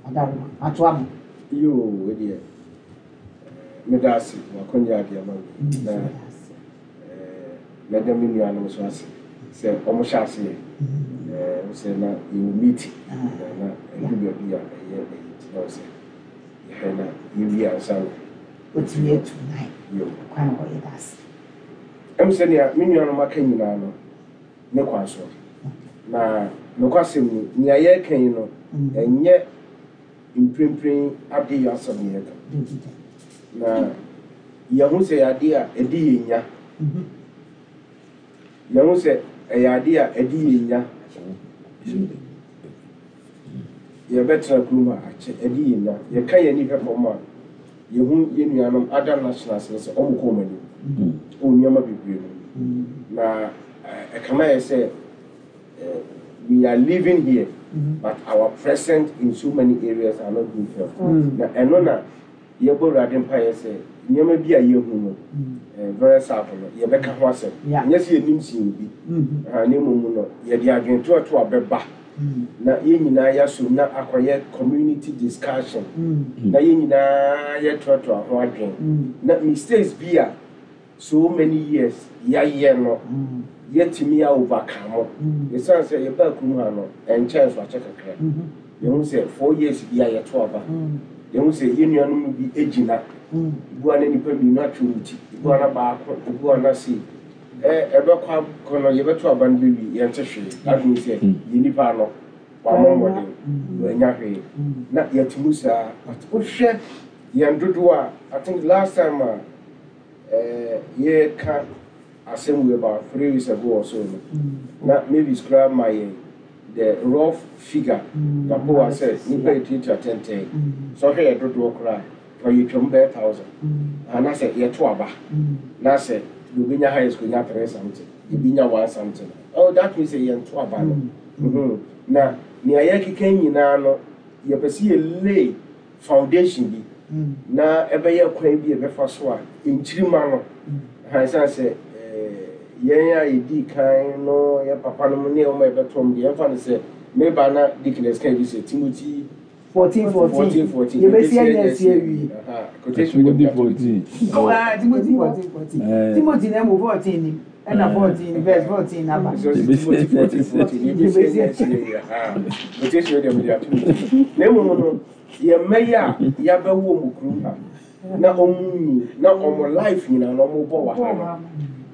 Adaroma ato ama. Yoo, wo deɛ, meda ase wakɔnyɛ adeɛ ama me na mɛda me nuanom nso ase sɛ ɔmo hyɛ aseɛ ɛɛ sɛ na yɛwɔ meeting na na ɛdu baabi a ɛyɛ ɛyɛ ti na sɛ yɛhwɛ na yɛwie ansa no. Otumi atu nan. Yoo. Kwan wɔ, yɛda ase. Ɛm sɛ nea me nuanom aka nyinaa no ne kwan so na nokwasɛm ni, nea yɛreka yi no, ɛnyɛ mprempren ade yɛ asɛm ne yɛka na yɛho sɛ yɛ ade a ɛde yɛn nya, yɛho sɛ ɛyɛ ade a ɛde yɛn nya. Yɛbɛtena kurom a akyɛ, ɛde yɛn nya. Yɛka yɛn ani hwɛ fam a, yɛhu yɛn nuanom other nationals no sɛ ɔmo kɔ ɔmo anim ɔwɔ nneɛma bebree mu na ɛkama yɛ sɛ we are living here, but our presence in so many areas are not being felt. Na ɛno na yɛbɔ Awurade mpaeɛ sɛ nneɛma bi a yɛhu no very sad no, yɛbɛka ho asɛm. Nyɛ sɛ yɛnim sin obi, na mmom no yɛde adwentoɔto a bɛba na yɛn nyinaa yɛasom na akɔyɛ community discussion na yɛn nyinaa yɛtoatoa ho adwen na mistakes bi a so many years yɛayɛ no, yɛtumi a overcome. Ɛsiane sɛ yɛbaa kurom ha no ɛnkyɛn so akyɛ kakra, yɛhu sɛ four years bi a yɛto aba, yɛhu sɛ yɛn nuanom no bi gyina ebu a na nipa mmienu atwe wɔn ti, ebu a na baako, ebu a na sei ɛ ɛbɛkɔ akɔ no, yɛbɛto aba no bɛwie, yɛnte hwee. Adwene sɛ yɛ nipa no wamɔ mmɔden wɔanya hwee na yɛte mu saa. But wohwɛ yɛn dodoɔ a, I think last time a ɛɛ yɛka asɛm wei about three weeks ago or so no, na Mavis koraa ma yɛn the rough figure yapowa sɛ nipa yɛ tuatua tɛntɛn sɛ ɔhwɛ yɛ dodoɔ koraa ka yɛtwam bɛyɛ thousand anaasɛ yɛto aba na sɛ deɛ obɛnya highest konya three something, ebi nya one something. Oh, that means sɛ yɛnto aba no Mhm. na nea yɛkeka nyinaa no, yɛpɛ sɛ yɛ lay foundation bi na ɛbɛyɛ kwan bi a ɛbɛfa so a nkyirima no ha, ɛsiane sɛ ɛɛ, yɛn a yɛdii kan no, yɛ papa no mu ne ɔma yɛbɛtɔm deɛ, yɛmfa no sɛ meba na deaconess kan bi sɛ Timothy fourteen fourteen. Fourteen fourteen. Yɛbɛsi anya asi awie. Aha, quotation Timothy wey dem fourteen. Oh, ah, Timothy fourteen fourteen. Eh. Timothy na mu fourteen ni ɛna Eh. fourteen verse fourteen naba. So Timothy fourteen fourteen, yɛbɛsi anya asi awie. Aha, quotation wey dem de ato mu na mmom no, yɛn mma yi a yɛabɛwɔ mu kurom ha na ɔmo nyi na ɔmo life nyinaa na ɔmo bɔ wɔ ha no,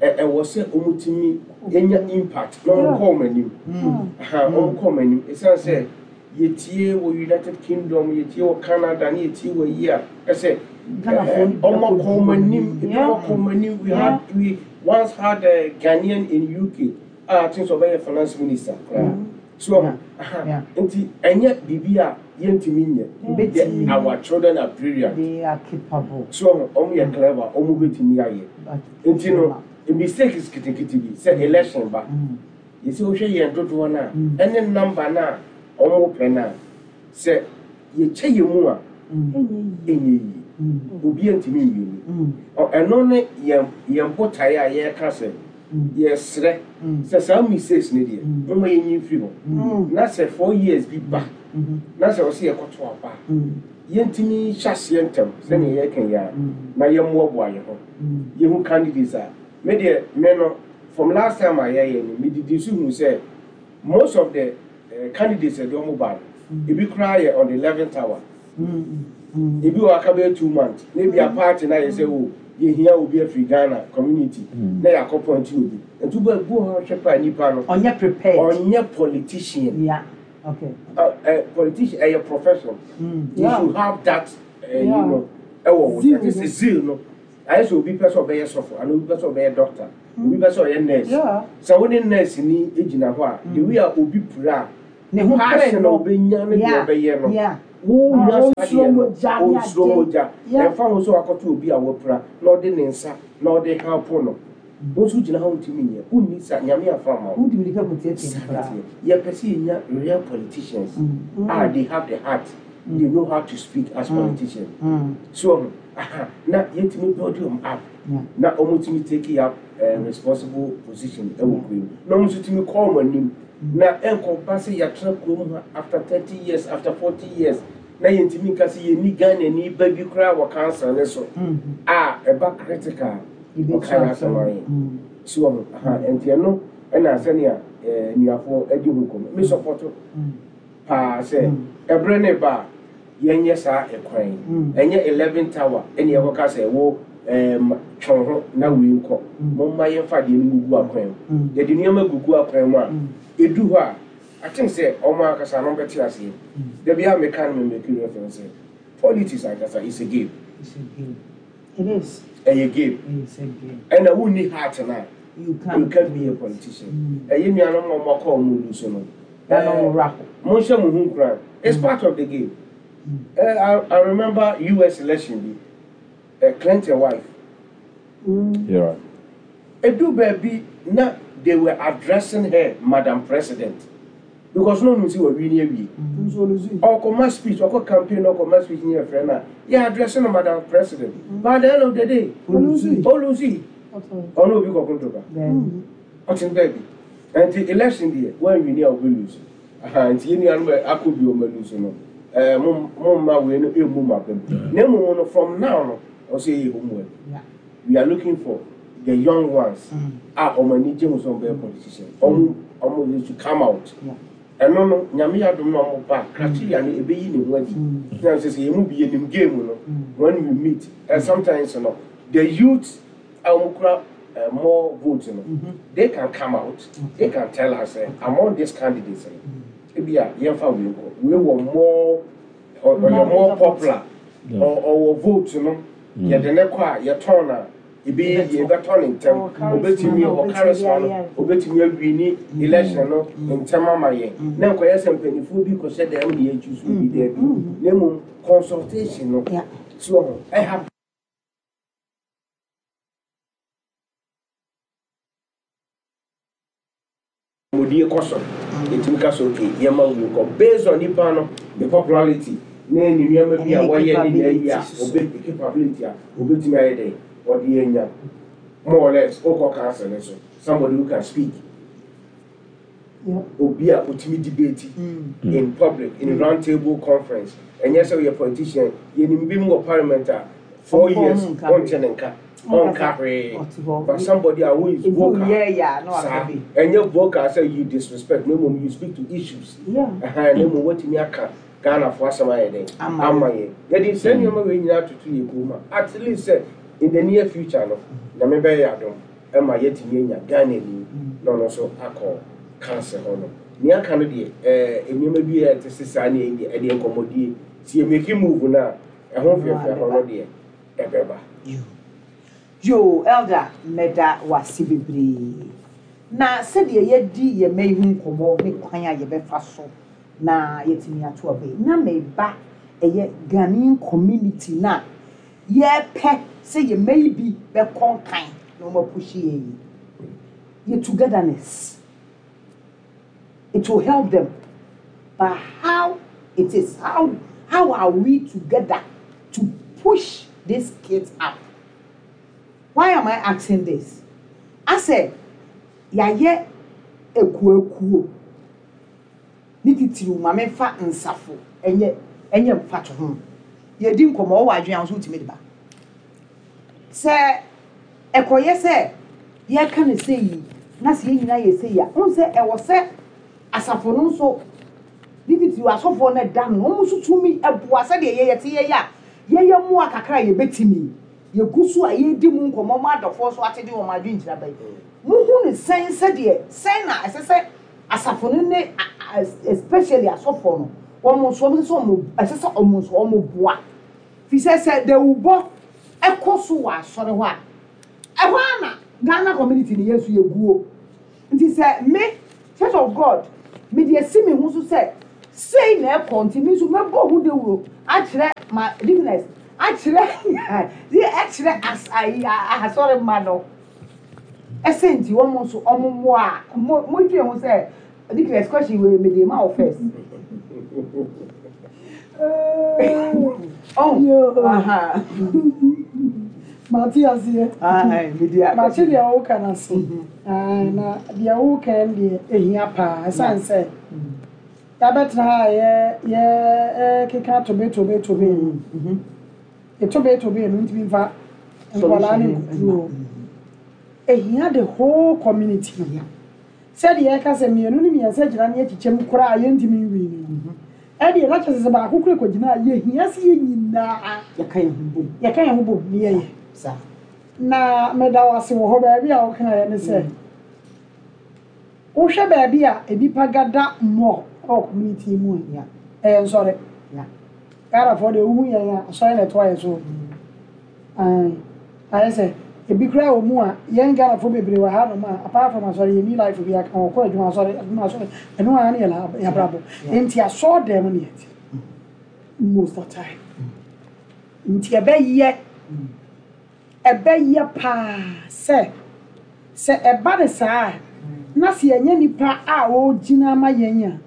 ɛ ɛwɔ sɛ ɔmo tumi enya impact na ɔmo kɔ ɔmo anim. Aha, ɔmo kɔ ɔmo anim, ɛsiane sɛ yɛtie wɔ United Kingdom, yɛtie wɔ Canada, ne yɛtie wɔ yi a ɛsɛ Ghanafoɔ no ɔmo kɔ ɔmo anim, ebi Yeah. ɔmo kɔ ɔmo anim. We had we once had a Ghanaian in U K a I think sɛ ɔbɛyɛ finance minister koraa so. Yeah. Aha, Yeah. nti ɛnyɛ biribi a yɛntumi nyɛ. Yɛbɛtumi. Our children are brilliant. They are capable. So ɔmo yɛ clever, ɔmo bɛtumi ayɛ. But Nti no mistakes nketenkete bi sɛ election ba, yɛsɛ wohwɛ yɛn dodoɔ no a ɛne number no a ɔmo pɛ no a, sɛ yɛkyɛ yɛn mu a ɛnyɛ yie, obi ntumi nwie ni. Ɔ- ɛno ne yɛn yɛn botaeɛ a yɛreka sɛ yɛsrɛ sɛ saa mistakes no deɛ, moma yɛnyi mfiri hɔ na sɛ four years bi ba na sɛ ɔsɛ yɛkɔto aba a, yɛntumi hyɛ aseɛ ntɛm sɛnea yɛreka yi a na yɛmmoaboa yɛn ho, yɛhu candidates a me deɛ me no, from last time a yɛyɛ no, medidi so hu sɛ most of the uh, candidates a ɛde ɔmo ba no, ebi koraa yɛ on the eleventh hour, ebi wɔ aka bɛyɛ two months na ebi a party na yɛ sɛ o yɛhia obi afiri Ghana community na yɛakɔ point obi, nti wobɛ bu hɔ hwɛ pa nipa no ɔnyɛ prepared. Ɔnyɛ politician. Yeah. Okay. Uh, uh, politician ɛyɛ profession. Mm. You Yeah. should have that uh, you Yeah. know, ɛwɔ wo. Zeal That is no. zeal no. Ayɛ sɛ obi pɛ sɛ ɔbɛyɛ sɔfo anaa obi pɛ sɛ ɔbɛyɛ doctor, obi pɛ sɛ ɔyɛ nurse. Yeah. Sɛ wo ne nurse ni gyina hɔ a, the way a obi pira a, Ne ho pere passion a no. obɛnya ne deɛ Yeah. ɔbɛyɛ no. Yeah. Wo Ah, nya saa onsuro deɛ no, mogya ne onsuro ade. mogya. Yeah. Ɛmfa ho sɛ wakɔto obi a wapira na ɔde ne nsa na ɔde help no. Wo nso gyina hɔ ntumi nyɛ. Wonni sa Nyame afa ama wo. Wodi mirika kɔtiatia no koraa. Yɛpɛ sɛ yɛnya real politicians Mm. a they have the heart, they know how to speak as politicians. Mm. So aha, na yɛtumi build them up Yeah. na ɔmo tumi take up uh, responsible position ɛwɔ kurom, na ɔmo nso tumi kɔ ɔmo anim na ɛnkɔba sɛ yɛatena kurom ha after thirty years, after forty years, na yɛntumi nka sɛ yɛni Ghana ni ba bi koraa wɔ council ne so Mm. a ɛba critical Yɛbɛtu ɔka yɛ asɛm asɛm. ayɛ Mm. si wɔ ho aha. Nti ɛno ɛna sɛnea ɛɛ nnuafoɔ adi ho nkɔmmɔ, me support Mm. paa sɛ ɛberɛ ne ba a yɛnyɛ saa ɛkwan yi. Mm. Ɛnyɛ eleven tower ɛne yɛkɔka sɛ ɛwɔ ɛɛm twɛn ho na wei nkɔ. Momma yɛmfa adeɛ no gugu akwan mu. Mm. Yɛde nneɛma gugu akwan mu a, Mm. ɛdu hɔ a, I think sɛ ɔmo ankasa no bɛte aseɛ. Dabi a meka no, memake reference sɛ politics ankasa is a game. It's a game. It is. Ɛyɛ game. It's a game. Ɛna wonni heart no a, You can't. you can't be a politician. Ɛyɛ nuanom a ɔmo akɔ ɔmo lu so no, Na na ɔmo wura hɔ. Monhyɛ mo ho nkuran, it's part of the game. uh, I, I remember U S election bi, uh, Clinton wife. Mm. Yeah. Edu baabi na they were addressing her "Madam President" because no no si wɔ wi ni awie. Nso oluzu. Ɔkɔma speech, ɔkɔ campaign, ɔkɔma speech ni yɛ frɛ na yɛ addressing no "Madam President", but at the end of the day, Oluzu. oluzi. Ɔno obi kɔkɔ ntɔkwa. Then Ɔte baabi nti election deɛ, wɔn win a, ɔbɛ lose. Aha, nti yɛn nuanom a akɔ bi ɔmo lose no, ɛɛ mo mo mma wei no emu mu abɛm na emu no, from now no, ɔsɛ yɛ homework. yeah. We are looking for the young ones Mm. a ɔmo ani gye ho sɛ ɔmo bɛyɛ politician. Ɔmo ɔmo they should come out. Yeah. Ɛno no, Nyame yɛ adom na ɔmo ba, criteria no ebeyi ne ho adi na sɛ sɛ yɛn mu bi yɛnim game no. When we meet, and sometimes no, the youth a wɔn kura uh, more votes no, they can come out, they can tell us uh, among these candidates no, ebi a yɛnfa wei nkɔ, wei wɔ more, ɔ- ɔyɛ more popular, ɔ- ɔwɔ vote no, yɛde ne kɔ a yɛtɔn na ebi yɛ yɛbɛtɔ ne ntɛm. Ɔwɔ charisma Obetumi na ɔwɔ obetumi charisma no, ayɛ. obetumi awin election no ntɛm ama yɛn, na nkɔyɛ sɛ mpanimfoɔ bi kɔhyɛ dɛm ne yɛtwi so bi daabi, na mmom consultation no Yeah. si wɔ ho ɛha. Modie kɔ so, yɛtumi ka so, okay, yɛma wo kɔ based on nipa no the popularity ne ne nneɛma bi a Ɛne ne wɔyɛ ne nea yi a capability so. obe capability a obetumi ayɛ dɛ ɔde anya more or less okɔ council ne so, somebody who can speak, Yeah. obi a otumi debate in public, in round table conference. Ɛnyɛ sɛ ɔyɛ politician, yɛnim bi mu wɔ parliament a four Ɔnkɔ years ho nka ɔnkyɛ ne nka, ɔnka hwee. Ɔte hɔ. But somebody a who is Ebi vocal yɛ yɛ a na waka saa bi. ɛnyɛ vocal sɛ you disrespect, na mmom you speak to issues. Yeah. Ɛhɛn, na mmom watumi aka Ghanafoɔ asɛm ayɛ dɛn Ama ama yɛn. Yɛde sɛ nneɛma wei nyinaa toto yɛ kurom a, at least sɛ in the near future no, Nyame bɛyɛ adom ɛma yɛatumi anya Ghana ni na ɔno nso akɔ council hɔ no. Nea aka no deɛ, ɛɛ nneɛma bi a ɛte sɛ saa ne ɛdeɛ ɛdeɛ nkɔmmɔdie si yɛ make move no a, ɛho fɛfɛ hɔ no deɛ ɛbɛba. Yo, elder, mɛda wase bebree. Na sɛdeɛ yɛdi yɛn mma yi ho nkɔmmɔ ne kwan a yɛbɛfa so na yɛtumi ato aba yi, na meba ɛyɛ Ghanaian community na yɛpɛ sɛ yɛn mma yi bi bɛkɔ nkan na wɔn apush yɛn yi, yɛ togetherness, it will help them. But how it is, how how are we together to push these kids up? Why am I asking this? Asɛ yɛayɛ ekuoekuo ne titiriw, maame fa nsafo ɛnyɛ ɛnyɛ mfato ho, yɛdi nkɔmɔ ɔwɔ adwene ahosuo tumi de ba sɛ ɛkɔyɛ sɛ yɛka ne sɛ yi na sɛ yɛn nyinaa yɛ sɛ yi a, n sɛ ɛwɔ sɛ asafo no nso ne titiriw asɔfoɔ no da no, wɔn nso tumi ɛboa sɛdeɛ yɛyɛ te yɛyɛ a yɛyɛ mmoa kakra a yɛbɛtumi yɛgu so a yɛdi mu nkɔmɔ mu, adɔfoɔ nso atete wɔn adwenkyerɛ bɛyi muhu ne sɛn, sɛdeɛ sɛn na ɛsɛ sɛ asafo no ne a- Especially asɔfoɔ no, wɔn nso wɔn sɛ wɔn ɛsɛ sɛ wɔn nso wɔn boa fi sɛ sɛ dawubɔ ɛkɔ so wɔ asɔre hɔ a, ɛhɔ ara na Ghana community ni yɛn nso yɛ guo. Nti sɛ me Church of God me de esi me ho so sɛ sei na ɛkɔ, nti me nso mɛbɔ ho dawuro akyerɛ ma business akyerɛ ɛkyerɛ as ayi asɔre ma no ɛsɛ. Nti wɔn nso wɔn mmoa a mo mo dwe ho sɛ deaconess, question wei me de ma wo first. Oh, aha. Mate aseɛ. Ayi me de. Mate deɛ woka no ase. Na deɛ woka no deɛ, ɛhia paa, ɛsiane sɛ yɛabɛtena ha a yɛ yɛ keka tobe tobe tobe no, tobe tobe no ntumi mfa nkwadaa ne nkukuru. Ɛhia the whole community. Sɛdeɛ yɛka sɛ mmienu ne mmiɛnsa gyina ne akyikyɛm koraa a yɛntumi nwi no, ɛdeɛ na kyerɛ sɛ baako kora kɔgyina a, yɛhia sɛ yɛn nyinaa yɛka yɛn ho bom. Yɛka yɛn ho bom ne yɛyɛ. Saa. Na meda wo ase wɔ hɔ. Baabi a wokaeɛ ne sɛ wohwɛ baabi a nnipa gada mmɔ ɛwɔ community mu a, ɛyɛ nsɔre. Ghanafoɔ deɛ, wohu yɛn a, asɔre na ɛtoa yɛ so. Ayɛ sɛ ebi koraa wɔ mu a, yɛn Ghanafoɔ bebree wɔ hanom a, apart from asɔre, yɛni life bi aka. Wɔkɔ adwuma, asɔre, adwuma, asɔre, ɛno ara ne yɛ yɛabrabɔ. Nti asɔre dɛm ne yɛte most of time. Nti ɛbɛyɛ ɛbɛyɛ paa sɛ sɛ ɛba ne saa a, na sɛ yɛnyɛ nipa a ɔgyina ama yɛn a,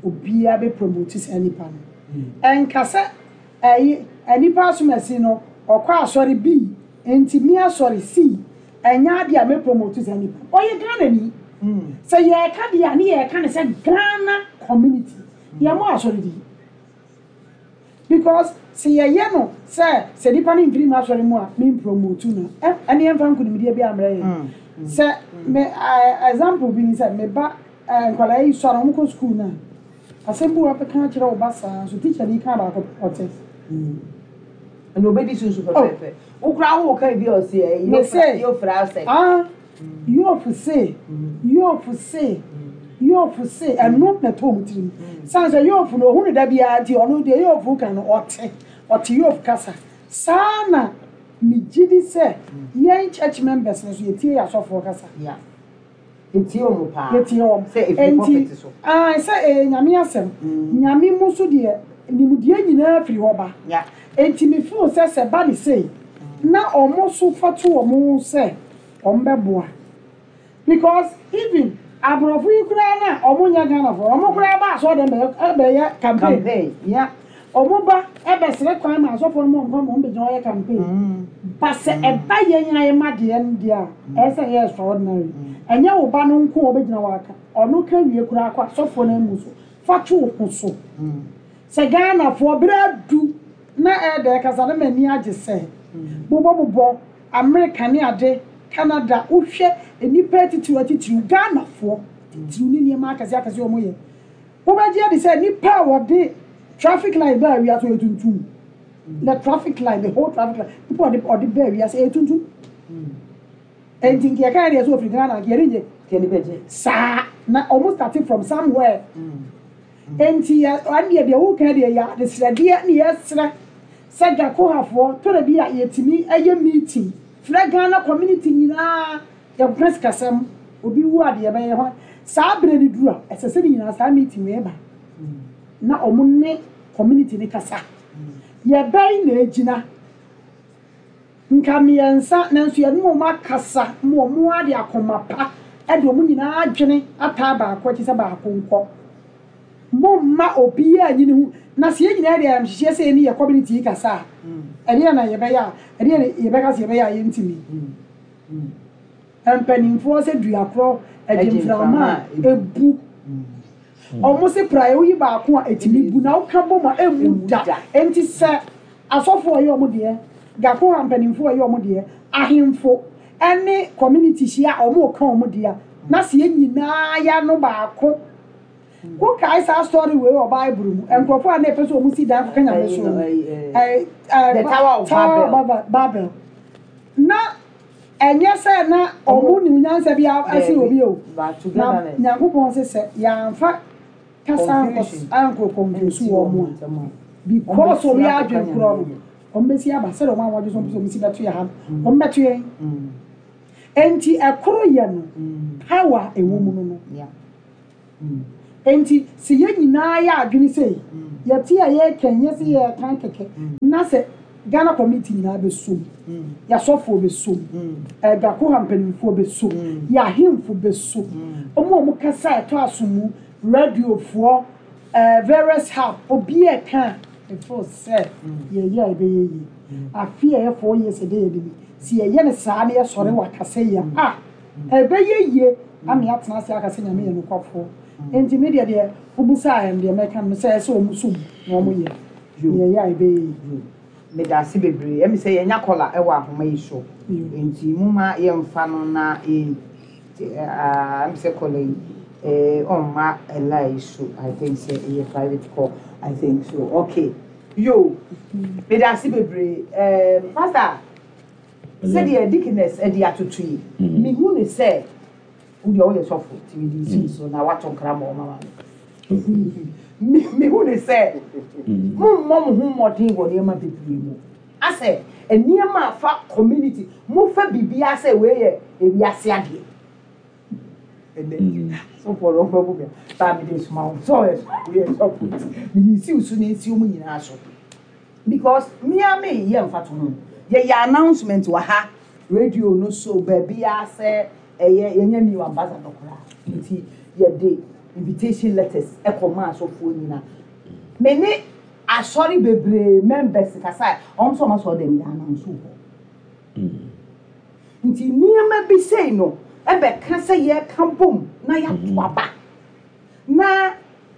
obiara bɛ promote saa nipa no. Ɛnka sɛ ɛyi nipa asomasi no ɔkɔ asɔre bi nti mi asɔre si ɛnyɛ adeɛ a mɛ promote saa nipa. Ɔyɛ Ghana ni. Sɛ yɛreka deɛ a, ne yɛreka ne sɛ Ghana community yɛn mo asɔre di, because sɛ yɛyɛ no sɛ sɛ nipa no mfiri mu asɔre mu a, mi promote no, ɛ ɛne yɛmfa nkonimdie bi amrɛ yɛn. Sɛ me ɛ example bi ni sɛ me ba ɛ nkwadaa yi sɔrɔ, wɔn kɔ school na asɛm bi wɔ bɛka akyerɛ wo ba saa so, teacher ni ka baako, ɔte. Ɛna obedi sunsun pɛpɛɛpɛ. Wokura wo kan bi a ɔsi ɛ Me say- yofra sɛ. Ah, yoofu se yoofu se yoofu se ɛno na ɛtɔ wɔn tirim san sɛ yoofu no ohun ne da biara, nti ɔno deɛ yoofu ka no, ɔte ɔte yoofu kasa saa. Na megye di sɛ yɛn church members no so yɛtie yɛ asɔfoɔ kasa. Ya. Etie wɔn paa. Yɛtie wɔn. Sɛ efiri pulpit so. Ah, sɛ ɛyɛ Nyame asɛm. Nyame mu so deɛ, nimdeɛ nyinaa firi hɔ ba. Ya. Enti me feel sɛ sɛ ba ne sei na ɔmo so fa to ɔmo ho sɛ ɔmo bɛboa, because even aborɔfo yi koraa na ɔmo nyɛ Ghanafoɔ, ɔmo koraa ba asɔre dɛm bɛyɛ ɛbɛyɛ campaign. Campaign. Ya. Ɔmo ba ɛbɛsrɛ kwan ma asɔfoɔ no ma ɔmo kwan ma ɔmo bɛgyina ɔyɛ campaign ba. Sɛ ɛba yɛn a yɛma deɛ no deɛ a, ɛyɛ sɛ ɛyɛ extraordinary. Ɛnyɛ wo ba no nko a ɔbɛgyina wɔ aka, ɔno ka wie koraa kɔ asɔfoɔ no amu so fa to wo ho so sɛ Ghanafoɔ berɛ adu na ɛɛdɛ kasa no. M'ani agye sɛ bobɔbobɔ Amerika ne ade, Canada, wohwɛ nnipa atitiriw atitiriw, Ghanafoɔ titiriw ne nneɛma akɛseɛ akɛseɛ a wɔyɛ. Wobɛgye adi sɛ nnipa a wɔde traffic light baa wiase ɔyɛ tuntum? The traffic light, the whole traffic light, nipa ɔde ɔde baa wiase ɛyɛ tuntum. Enti nka yɛka yɛ deɛ sɛ ofiri Ghana, nka yɛde nye Kɛni bɛgye. saa na ɔmo starting from somewhere. Enti yɛ ɛdeɛ deɛ woka deɛ yɛ adesrɛdeɛ ne yɛsrɛ sɛ Gakohafoɔ tɔrɔ bi a yɛtumi ɛyɛ meeting frɛ Ghana community nyinaa, yɛkɔka sikasɛm, obi wu adeɛ bɛyɛ hɔ saa berɛ no duru a, ɛsɛ sɛ ne nyinaa saa meeting wei ba na ɔmo ne community ne kasa. Yɛbɛn na egyina nka mmiɛnsa, nanso yɛne wɔn akasa ma wɔn ade akoma pa ɛde wɔn nyinaa adwene ataa baako akyi sɛ baako nkɔ. Momma obiara nyi ne ho na sɛ yɛn nyinaa de ayamhyehyɛ sɛ yɛne yɛ community yi kasa a, ɛdeɛ na yɛbɛyɛ a, ɛdeɛ na yɛbɛka sɛ yɛbɛyɛ a, yɛntumi. Mpanimfoɔ sɛ dua korɔ agye mframa a ebu ɔmo se praeɛ, woyi baako a etumi bu, na woka bɔ mu a emu da. Enti sɛ asɔfoɔ yɛ ɔmo deɛ, Gakoha mpanimfoɔ yɛ ɔmo deɛ, ahemfo ɛne community hyia a, ɔmo ka ɔmo deɛ, na sɛ yɛn nyinaa yɛ ano baako. Wokae saa story wei wɔ Bible mu, nkurɔfoɔ a na ɛpɛ sɛ ɔmo si dan kɔka Nyame so no, ɛɛ, ɛɛ, The Tower of Tower Babel. of Babel. Na ɛnyɛ sɛ na ɔmo nim nyansa bi ase obi o. But Na togetherness. Nyankopɔn sɛ sɛ yɛamfa Kasa ankɔ confuse wɔn mu a, because wɔn yɛ adwene korɔ no, wɔn bɛsi aba sɛdeɛ wɔn a wɔadwe so wɔn pɛ sɛ wɔn si bɛto yɛ ha no, wɔn bɛto yɛn. Nti ɛkoro yɛ no, power ɛwɔ mu no no. Nti sɛ yɛn nyinaa yɛ adwene sɛ yɛte a yɛrekɛn yɛsɛ yɛrekan kɛkɛ na sɛ Ghana community nyinaa bɛsom, yɛasɔfoɔ bɛsom, ɛgakoha mpanimfoɔ bɛsom, yɛahemfo bɛsom, wɔn a wɔn kasa ɛtɔ aso mu, radiofoɔ, ɛɛ various hub, obi a ɛka ɛfo sɛ yɛyɛ a ɛbɛyɛ yie. Afe a ɛyɛ four years ɛdɛ yɛ de bi si yɛyɛ ne saa na yɛsɔre wɔ akasa yi a, a ɛbɛyɛ yie ama yɛatena ase aka sɛ Nyame yɛ nokwafoɔ. Nti me deɛ deɛ wobusaa yɛn deɛ mɛka no sɛ ɛsɛ wɔn som na wɔn yɛ yɛyɛ a ɛbɛyɛ yie. Meda ase bebree. Ɛmi sɛ yɛnya caller ɛwɔ ahoma yi so, nti moma yɛmfa no na yɛn ɛmi sɛ caller yi ɛɛ ɔmma ɛla yi so. I think sɛ ɛyɛ private call, I think so. Okay, yo, meda ase bebree. ɛɛm pastor, sɛdeɛ deaconess ɛde atoto yi, mihu ne sɛ wodeɛ woyɛ sɔfo, nti mede si so na wato nkra ma ɔma ma me. Mihu ne sɛ mommɔ mo ho mmɔden wɔ nneɛma bebree mu, asɛ nneɛma a fa community mofa biribiara sɛ wei yɛ ewiase adeɛ. Ɛnɛ sɔfo no ɔfɛ bu mi baa mi de soma wo sɛ ɔyɛ woyɛ sɔfo, mede si wo so na esi wɔn nyinaa so, because mmea mi yɛ mfa to ho. Yɛyɛ announcement wɔ ha, radio no so, baabi a sɛ ɛyɛ yɛnyɛ new ambassador koraa, nti yɛde invitation letters ɛkɔ maa asɔfoɔ nyinaa. Me ne asɔre bebree members kasa a, wɔn nso wɔn asɔre dɛm yɛ announce wɔ hɔ, nti nneɛma bi sei no ɛbɛka sɛ yɛka bom na yɛato aba na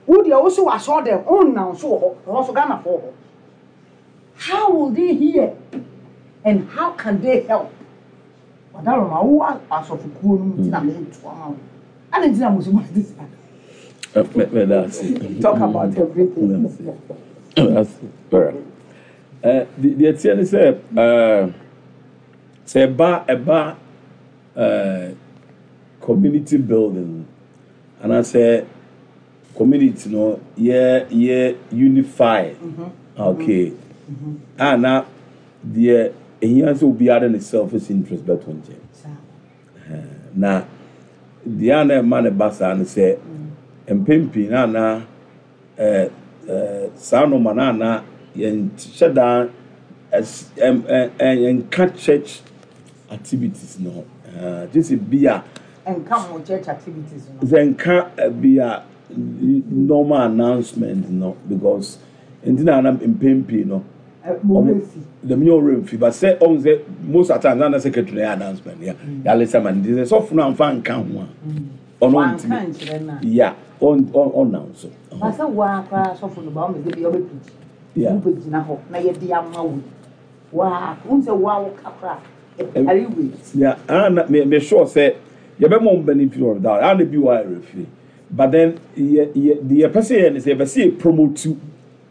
wo deɛ wo so wɔ asɔre dɛm ɔnanso wɔ hɔ, ɛhɔ so Ghanafoɔ wɔ hɔ. How will they hear and how can they help? Wadaroma wo asɔfokuo no mu nti na meeto ama wo ana nti na mo so mo ade saa. Meda ase. Talk about everything. Meda ase. Alright. Deɛ teɛ ne sɛ sɛ ɛba ɛba community building anaasɛ community no yɛ yɛ unify, okay, a na deɛ ehia sɛ obiara de ne selfish interest bɛto nkyɛn, na deɛ a na ɛma ne ba saa no sɛ mpɛn pii na na ɛɛ ɛɛ saa nneɛma na na yɛn hyɛ dan ɛs ɛm ɛ ɛ yɛnka church activities no ho, ɛɛ gye sɛ bi a Nka mo church activities no. Sɛ nka bi a normal announcement no, because nti na na mpɛn pii no Mo werɛ fi. Dɛm nyɛ ɔwerɛ mfi, but sɛ ɔn sɛ most at times na secretary na yɛ announcement yɛ yɛale sɛ ma nti sɛ sɔfo no amfa nka ho a, ɔno Wanka ntumi nkyerɛ no a. Ya, ɔn ɔn ɔnam so. Basa waa koraa sɔfo no ba ɔmɛ sɛ bi ɔbɛ preach. Yeah. Wobɛgyina hɔ na yɛde ama wo yi. Waa, wohu sɛ waa wo ka koraa ɛpare wei. Yeah, and me me sure sɛ yɛbɛma wɔn benefit of that and bi wɔ ayɛ firi, but then yɛ yɛ deɛ yɛpɛ sɛ yɛ ne sɛ yɛpɛ sɛ yɛ promote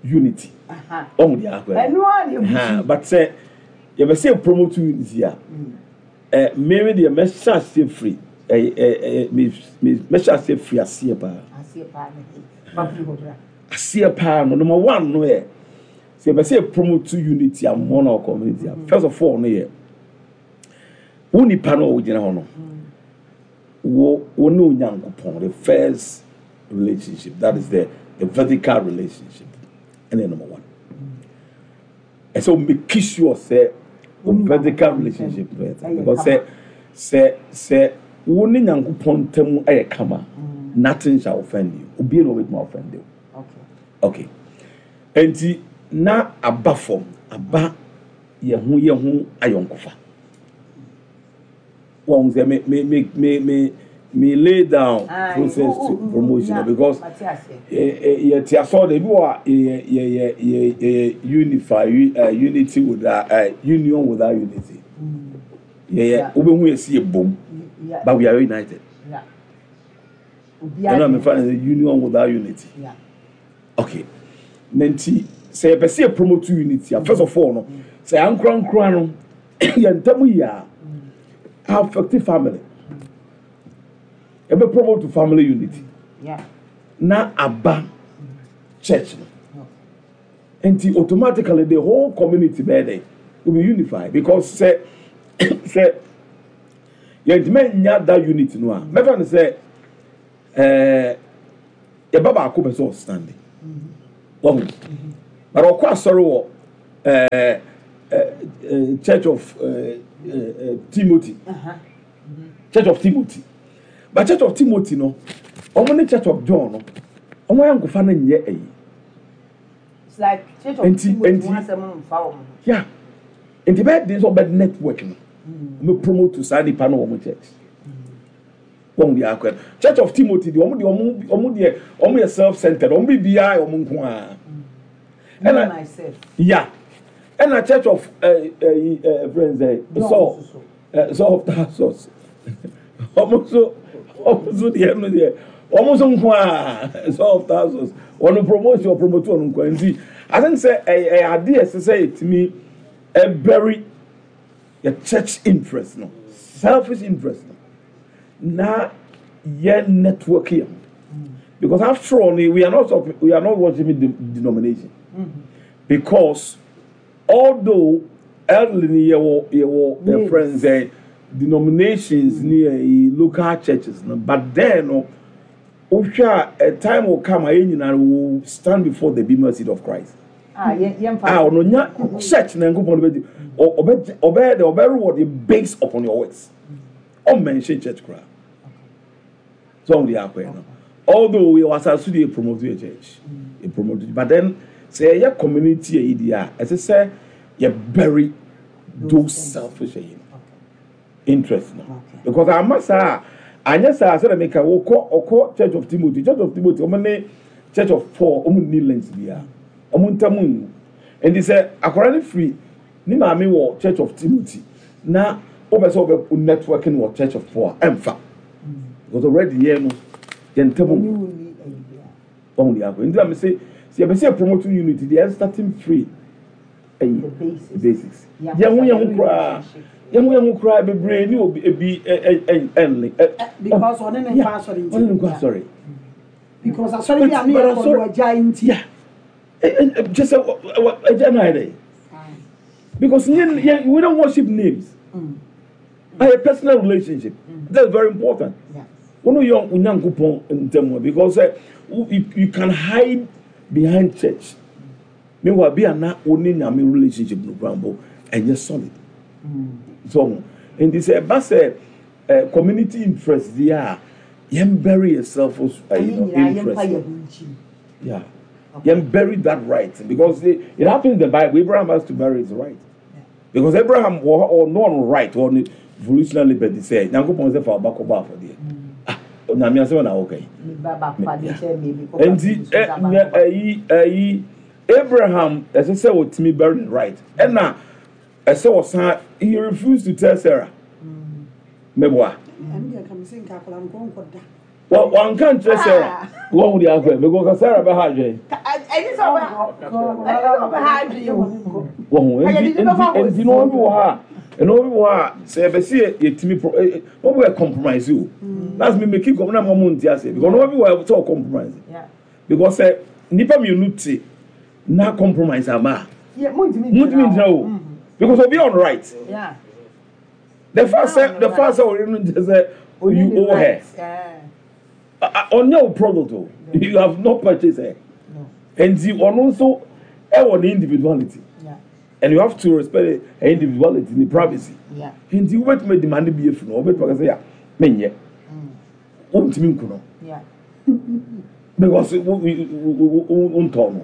unity. Aha. Ɔmo deɛ akɔ Ɛno ara na ha ebusu. But sɛ yɛpɛ sɛ yɛ promote unity a, ɛ mmemme deɛ mɛhyɛ aseɛ firi ɛ ɛ ɛ me me mɛhyɛ aseɛ firi aseɛ paa. Aseɛ paa ne he. Fa firi hɔ bra. Aseɛ paa no, number one no yɛ sɛ yɛpɛ sɛ yɛ promote unity among our community a, first of all no yɛ wo nipa no a wogyina hɔ no, wo wo ne Onyankopɔn, the first relationship, that is the the vertical relationship, ɛna number one ɛsɛ o make sure sɛ o vertical relationship no yɛ tight, because sɛ sɛ sɛ wo ne Nyankopɔn ntam ɛyɛ kama, nothing shall offend you. Obiara na obetumi offend you. Okay. Okay, nti na aba fam aba yɛn ho yɛn ho ayɔnkofa wɔn sɛ me me me me me me lay down Aye, process oh, to oh, oh, promotion yeah, because mate aseɛ. yɛ yɛ te asɔre de ebi wɔ a yɛ yɛ yɛ yɛ yɛ unify uh, unity without uh, union without unity. Yɛ yɛ Yeah. wobɛhu yɛ si yɛ bom Yeah. but we are united. Yeah. Obiara Ɛna mefa no sɛ union without unity. Yeah. Okay, na nti sɛ yɛpɛ sɛ yɛ promote unity a, first of all no, sɛ yɛankorankora no yɛn ntam yi a affect family, yɛbɛ promote family unity. Yeah. Na aba church no. Nti automatically the whole community bɛyɛ dɛ will be unified, because sɛ sɛ yɛntumi nya that unity no a, mɛfa no sɛ ɛɛ yɛba baako pɛ sɛ ɔstand wɔn, but ɔkɔ asɔre wɔ ɛɛ ɛɛ Church of ɛɛ ɛɛ Timothy, Church of Timothy, but Church of Timothy no, wɔn ne Church of John no, wɔn ayɛ nkofa no nyɛ ɛyi. It's like Church of Enti- Timothy enti- ho asɛm no mfa wɔn ho. Yeah, nti bɛyɛ den sɛ ɔbɛ network no, ɔbɛ promote saa nipa no wɔ wɔn church. Wɔn deɛ akɔ Church of Timothy deɛ, wɔn deɛ wɔn wɔn deɛ wɔn yɛ self centered, wɔn bi biara yɛ wɔn nko ara. Me Ɛna- myself. Yeah, ɛna Church of ɛɛ ɛɛ ɛɛ friends ɛ John Saul nso so. ɛ Saul of Tarsus, wɔn nso wɔn nso deɛ no deɛ wɔn nso nko ara. Saul of Tarsus, wɔn promotion, ɔpromote wɔn nko ara. Nti I think sɛ ɛyɛ ɛyɛ adeɛ ɛsɛ sɛ yɛtumi ɛbury yɛ church interest no, selfish interest no, na yɛ network yɛ ho, because after all we are not we are not worshiping the denomination, because although elderly ni yɛwɔ yɛwɔ yɛ Names. friends ɛ denominations ni yɛ local churches no, but then no, wohwɛ a a time will come a yɛn nyinaa will stand before the bema seat of Christ. Ah, yɛn yɛn A ɔno nya church na Nkopɔn no bɛgye ɔ- ɔbɛ ɔbɛyɛ dɛ ɔbɛ reward based upon your works. Ɔmmɛnhyɛ church koraa so ɔmo de akɔɛ no, although we wɔ asase de promote your church, yɛ promote, but then sɛ yɛyɛ community yɛ yi deɛ a, ɛsɛ sɛ yɛ bury those selfish ɛyi no interest no, Okay. because ama saa anyɛ saa, sɛdeɛ meka, wɔkɔ ɔkɔ Church of Timothy, Church of Timothy, ɔmo ne Church of Paul, ɔmo ni links biara, ɔmo ntam ngu. Nti sɛ akwadaa no firi ne maame wɔ Church of Timothy na wopɛ sɛ wobɛ networking wɔ Church of Paul a, ɛmfa, because already yɛn no yɛn ntam Ɛne ngu. wo ni ɛyi bia. Wɔn de akɔ. Nti na mi sɛ sɛ yɛbɛ sɛ promote unity deɛ, starting free ɛyi The basics. The basics. Yeah. Yɛn ho yɛn ho koraa, yɛn ho yɛn ho koraa bebree ni obi ebi ɛ ɛ ɛ ɛnle ɛ. Because ɔne ne nkɔ asɔre nti. Ɔne ne nkɔ asɔre. Because asɔre bi a ne But- yɛ but kɔ no asɔre- agya nti. Yeah, ɛ ɛ ɛ kyɛ sɛ wɔ wɔ ɛgya na ayɛ dɛ, because yɛn yɛn we don't worship names na yɛ personal relationship. That's very important. Yeah. Wɔn yɛ Onyankopɔn ntɛm, because ɛ you you can hide behind church, meanwhile bi ana oni Nyame relationship no kura mbɔ ɛnyɛ solid. So nti sɛ ɛba sɛ ɛ community interest deɛ a, yɛn bury yourself ɛyi Ɛyi no nyinaa yɛmfa interest yɛn ho nkyi. Yeah, yɛn bury that right, because it, it happens in the Bible. Abraham has to bury his right, because Abraham wɔ ɔno ɔno right, ɔno volitional liberty sɛ Nyankopɔn sɛ fa ɔba kɔbɔ afɔdeɛ. Ah, Nyame asɛm na wɔka yi. Me ba baako ade kyɛ me, me kɔ Nti ɛ ɛ ɛyi ɛyi Abraham, ɛsɛ sɛ wɔtumi bury the right, ɛna ɛsɛ wɔsan, he refused to tell Sarah mɛboa. Ɛno deɛ, ka me sɛ nka akwadaa no kɔ nkɔ da. Wɔ wɔnka nkyerɛ Sarah wɔn ho de akɔ because Sarah bɛ ha adwene. Ɛni sɛ ɔbɛ ɛni sɛ ɔbɛ ha adwene o. Wɔn ho Ɛyɛ nti de nipa fa nti nti na wɔn bi wɔ ha a, ɛna wɔn bi wɔ ha a, sɛ yɛbɛsi yɛ yɛtumi pro ɛ ɛ wɔn bi wɔ compromise o. That's me make it na mo mo nti ase, because wɔn bi wɔ sɛ ɔ compromise, Yeah. because sɛ nipa mmienu te na compromise ama a, Yeah, mo ntumi. mo ntumi ngyina o, because obi on right. Yeah. The fact sɛ the fact sɛ ɔyɛ no nkyɛn sɛ you owe her, ɔnyɛ o product o, you have not purchased her. No. Nti ɔno nso ɛwɔ ne individuality Yeah. and you have to respect her individuality, ne privacy. Yeah. Nti wobɛtumi demand bi efi no, wobɛtumi aka sɛ ya menyɛ, wontumi nku no Yeah. because wo wo wo wo ntɔ no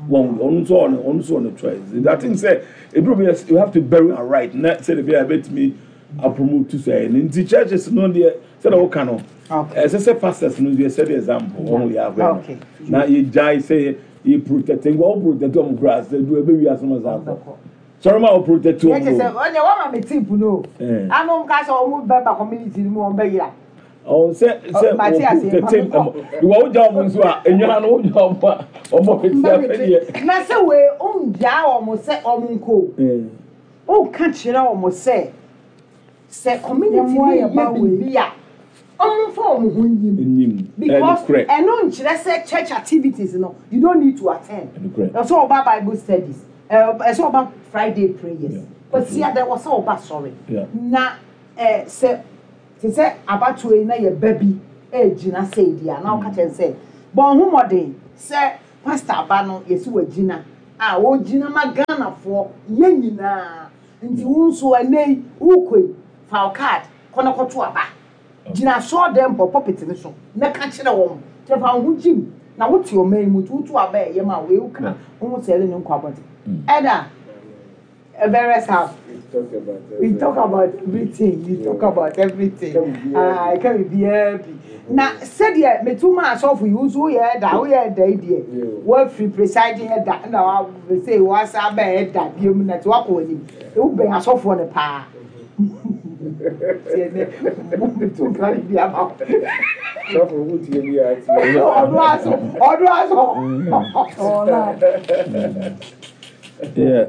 wɔn. Ɔno nso ɔno ɔno nso ɔno choice. I think sɛ ebi bi you have to bury her right na sɛ de bi a ɛbɛtumi apromote sɛ ɛno. Nti churches no deɛ, sɛdeɛ wɔka no, Okay. ɛsɛ sɛ pastors no deɛ, sɛ the example wɔn yɛ akɔ Okay. no na yɛ gyae sɛ yɛ protect nkɔ wɔn, protect wɔn kura sɛ du ebe wi asoma sa akɔ sɔrɔ ma wɔ protect Yɛ kyɛ wɔn sɛ o. ɔnyɛ wɔn ma mi tip no. Eh. Anum ka sɛ ɔmo bɛ ba community ni mu, wɔn bɛ yira. Ɔ sɛ sɛ Ɔ, mate wɔ ase, protect ma me ɛmɔ ìwà wogya wɔn nso a enwia no wogya wɔn a wɔn bɛ ti afɛ deɛ. Na sɛ wei ongyaa wɔn sɛ wɔn nko. Ɔka kyerɛ wɔn sɛ sɛ community Yɛmmoa ni yɛ ba yɛ wei. biribi a Ɔmo nfa ɔmo ho nyim. Enyim. Because Ɛnokorɛ. ɛno nkyerɛ sɛ church activities no, you don't need to attend. Ɛnokorɛ. Ɛsɛ ɔba Bible studies, ɛɛ ɛsɛ ɔba Friday prayers. Yeah. Kwasi ada wɔ sɛ ɔba sɔre. Yeah. Na ɛɛ sɛ te sɛ abatoɔ yi na yɛ ba bi ɛɛgyina sɛ di a, na ɔka kyerɛ sɛ bɔn ho mmɔden sɛ pastor aba no, yɛsi wɔ gyina a wɔgyina ma Ghanafoɔ yɛn nyinaa, nti wo nso ɛnɛ yi wokɔ yi, fa wo card kɔ na kɔto aba, gyina asɔɔdan pɔ pulpit ne so na ka kyerɛ wɔn kyerɛ, fa wo ho gyim na wote ɔman yi mu, nti woto aba a ɛyɛ ma wo ewu ka wo ho sɛ ɛde ne nkɔ abɔnten ɛda various house. We talk about We talk about everything, we talk about everything. Ah, ɛka biribiara bi na sɛdeɛ metu ma asɔfo yi, wo nso woyɛ ɛda, woyɛ ɛda yi deɛ, woafiri presiding ɛda na wa sɛ wasa aba ɛda biom na nti woakɔ w'anim, wobɛn asɔfoɔ no paa tiɛ nɛ metu nkra ne bi ama wo. Sɔfo, wo tie bi a tie. Ɔno aso, ɔno aso. Ɔla. Yeah.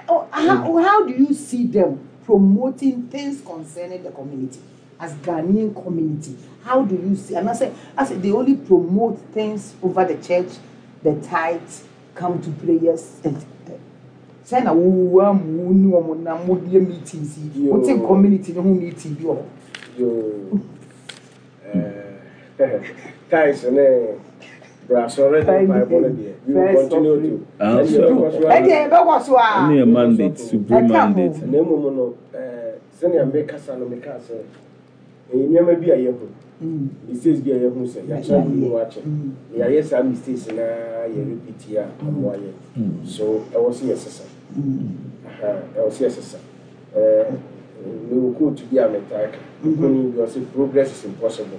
Oh, how, how do you see them promoting things concerning the community as Ghanaian community? How do you see? And I say, I say they only promote things over the church, the tithe, come to prayers. And sɛ na wo amu ni wɔn na mo die meetings yi, Yo. wote community ne ho meeting bi wɔ hɔ? Yo. Eh, tithes ne brasɔre ne mpaebɔ no deɛ, we will First continue offering. to. Ah, Ɛne so- yɛbɛkɔ so Ɛdeɛ yɛbɛkɔ so a. Ɛne yɛ mandate, supreme Ɛka ho. mandate. Na mmom no, eh, sɛnea mekasa no, mekaa sɛ ɛyɛ nneɛma bi a yɛhu, Mm. mistakes bi a yɛhu sɛ yɛakyerɛ bi mu akyɛ Mm. na yɛayɛ saa mistakes na yɛ repeat a amoa yɛ so, ɛwɔ sɛ yɛsesa. Mm. Aha, ɛwɔ sɛ yɛsesa. Eh, mewɔ quote bi a metaa ka koni bi, ɔsɛ, "Progress is impossible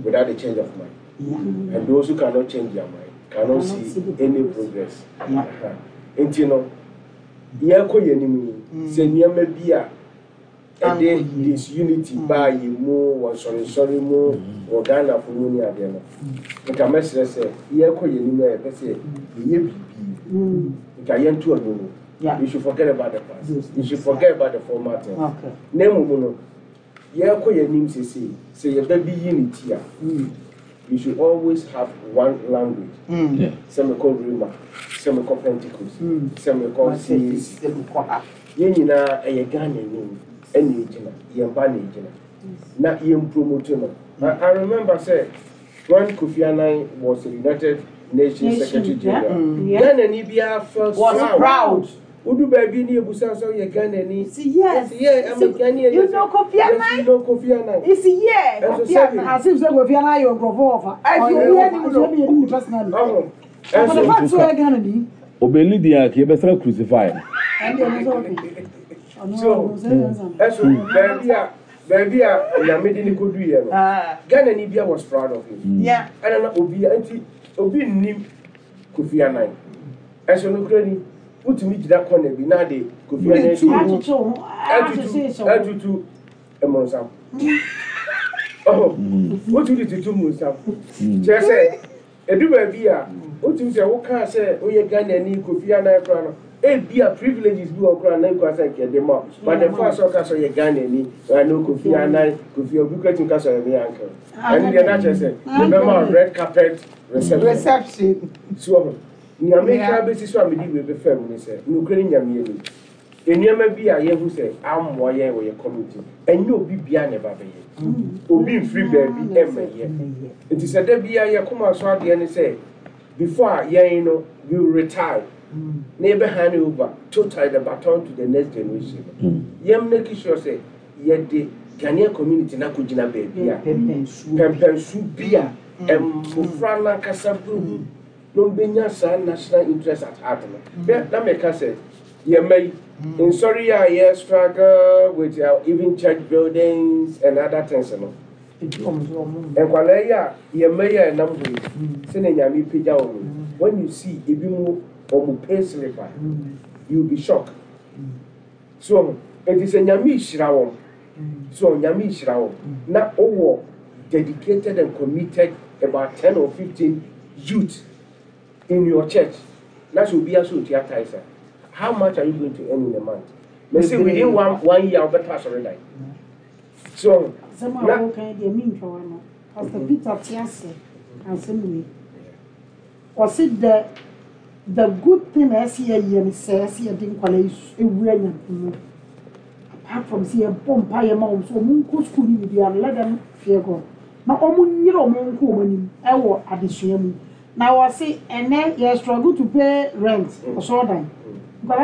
without the change of mind, Yeah. and those who cannot change their mind cannot Cannot see see the any progress. progress." Yeah. Aha. Nti no, yɛkɔ yɛn anim yi, sɛ nneɛma bi a ɛde Ankɔ yie. disunity baa yɛn mu wɔ nsɔrensɔre mu wɔ Ghanafo mu ne adeɛ no, nka mɛsrɛ sɛ yɛkɔ yɛn anim a, yɛpɛ sɛ yɛyɛ biribi, nka yɛnto ano mu. Yeah. You should forget about the past. Those You should things, forget about the former things. Okay. Na mmom no, yɛkɔ yɛn anim sesei, sɛ yɛba bi yi ne ti a, Mm. you should always have one language. Mm. Yeah. Sɛ mekɔ Rhema, sɛ mekɔ Pentecost, Mm. sɛ mekɔ C A C, Sɛ mekɔ ha. Yɛn nyinaa ɛyɛ Ghana anim ɛna egyina yɛn ba na egyina na yɛn promote no. I, I remember sɛ when Kofi Annan was the United Nations Nation, Secretary General, Mm. Yeah. Ghana ni biara felt Was proud. proud. Wodu baabi ni ebusa sɛ ɔyɛ Ghana ni. See, yes. Yes, yeah, I'm a Ghanaian. You know Kofi Yes, Annan? you know Kofi Annan. It's yeah. Ɛnso Kofi sɛbi- Annan. As if sɛ Kofi Annan ayɛ nkurɔfoɔ ɔfa. Ɛnso Ɔyɛ obiara nim no. ɔfa, ɛnso obiara nim personally. Ɔho For the ɛnso fact sɛ ɔyɛ Ghana ni. Obeli di a kì í bɛ sɛ crucify no. Ɛnde ɛno sɛ ɔka. Ɔno So- ɔno sɛ ɛnsa no. Ɛnso baabi a baabi a Nyame de ne kodu yɛ no, Ah, Ghana ni bia was proud of him. yeah. Ɛna na obi nti obi nnim Kofi Annan, ɛnso no kura ni wotumi gyina kɔna bi na de Kofi Annan Tu. di Akyekyere wo ho, ɛtutu ahyehyɛ wo. Ɛtutu mmonsam ɔhɔ, wotumi de tutu mmonsam kyerɛ sɛ edu baabi a wotumi sɛ wokaa sɛ woyɛ Ghana ni Kofi Annan kora no, ebi a privileges bi wɔ kora na nkwa sɛ nkɛde ma wo, but the fact sɛ ɔka sɛ ɔyɛ Ghana ni, ɛno Kofi Annan, Kofi obi kura tumi ka sɛ ɔyɛ me uncle, ɛno deɛ n'akyerɛ sɛ mebɛma wo red carpet reception. Reception. So ɔho nea meka Yeah. bɛsi so a mede wei bɛfa mu ne sɛ nokorɛ ne Nyame anim, nneɛma bi a yɛhu sɛ ammoa yɛn wɔ yɛ community, ɛnyɛ obi bia na ɛba bɛyɛ, obi mfiri baabi ɛmmɛyɛ. Nti sɛ da bia yɛkoma so adeɛ ne sɛ before a yɛn no we will retire na yɛbɛ hand over totally the baton to the next generation no, yɛn make sure sɛ yɛde Ghanaian community na akɔgyina baabi a Pɛmpɛnsuo. Pɛmpɛnsu bi a mmɔfra n'ankasa bɛhu na ɔmbɛnya saa national interest at heart no. Bɛ na mɛka sɛ yɛn mma yi nsɔre yi a yɛ struggle with our even church buildings and other things no, Ebi wɔn so wɔn. Nkwadaa yi a yɛn mma yi a ɛnam hɔ yi, sɛnea Nyame pagya wɔn yi, when you see ebi mu wɔn pay slip a, you will be shocked. So eti sɛ Nyame hyira wɔn so, Nyame hyira wɔn na ɔwɔ dedicated and committed about ten or fifteen youth in your church na sɛ obi aso otua tithes a, how much are you going to earn in a month? Mɛ sɛ within one one year, ɔbɛtɔ asɔredan. So Asɛm a na wɔka deɛ, mentwa wa no. Pastor Peter te ase asɛm wei. Ɔse the the good thing a ɛsɛ yɛyɛ no sɛ ɛsɛ yɛde nkwadaa yi su- ewura Nyame mu. Apart from sɛ yɛbɔ mpaeɛ ma wɔn so wɔn nkɔ school no biribiara no, let them fear God na wɔn nyere wɔn nkɔ wɔn anim ɛwɔ adesua mu. Na wɔse ɛnɛ yɛ struggle to pay rent, ɔsɔɔdan nkwadaa.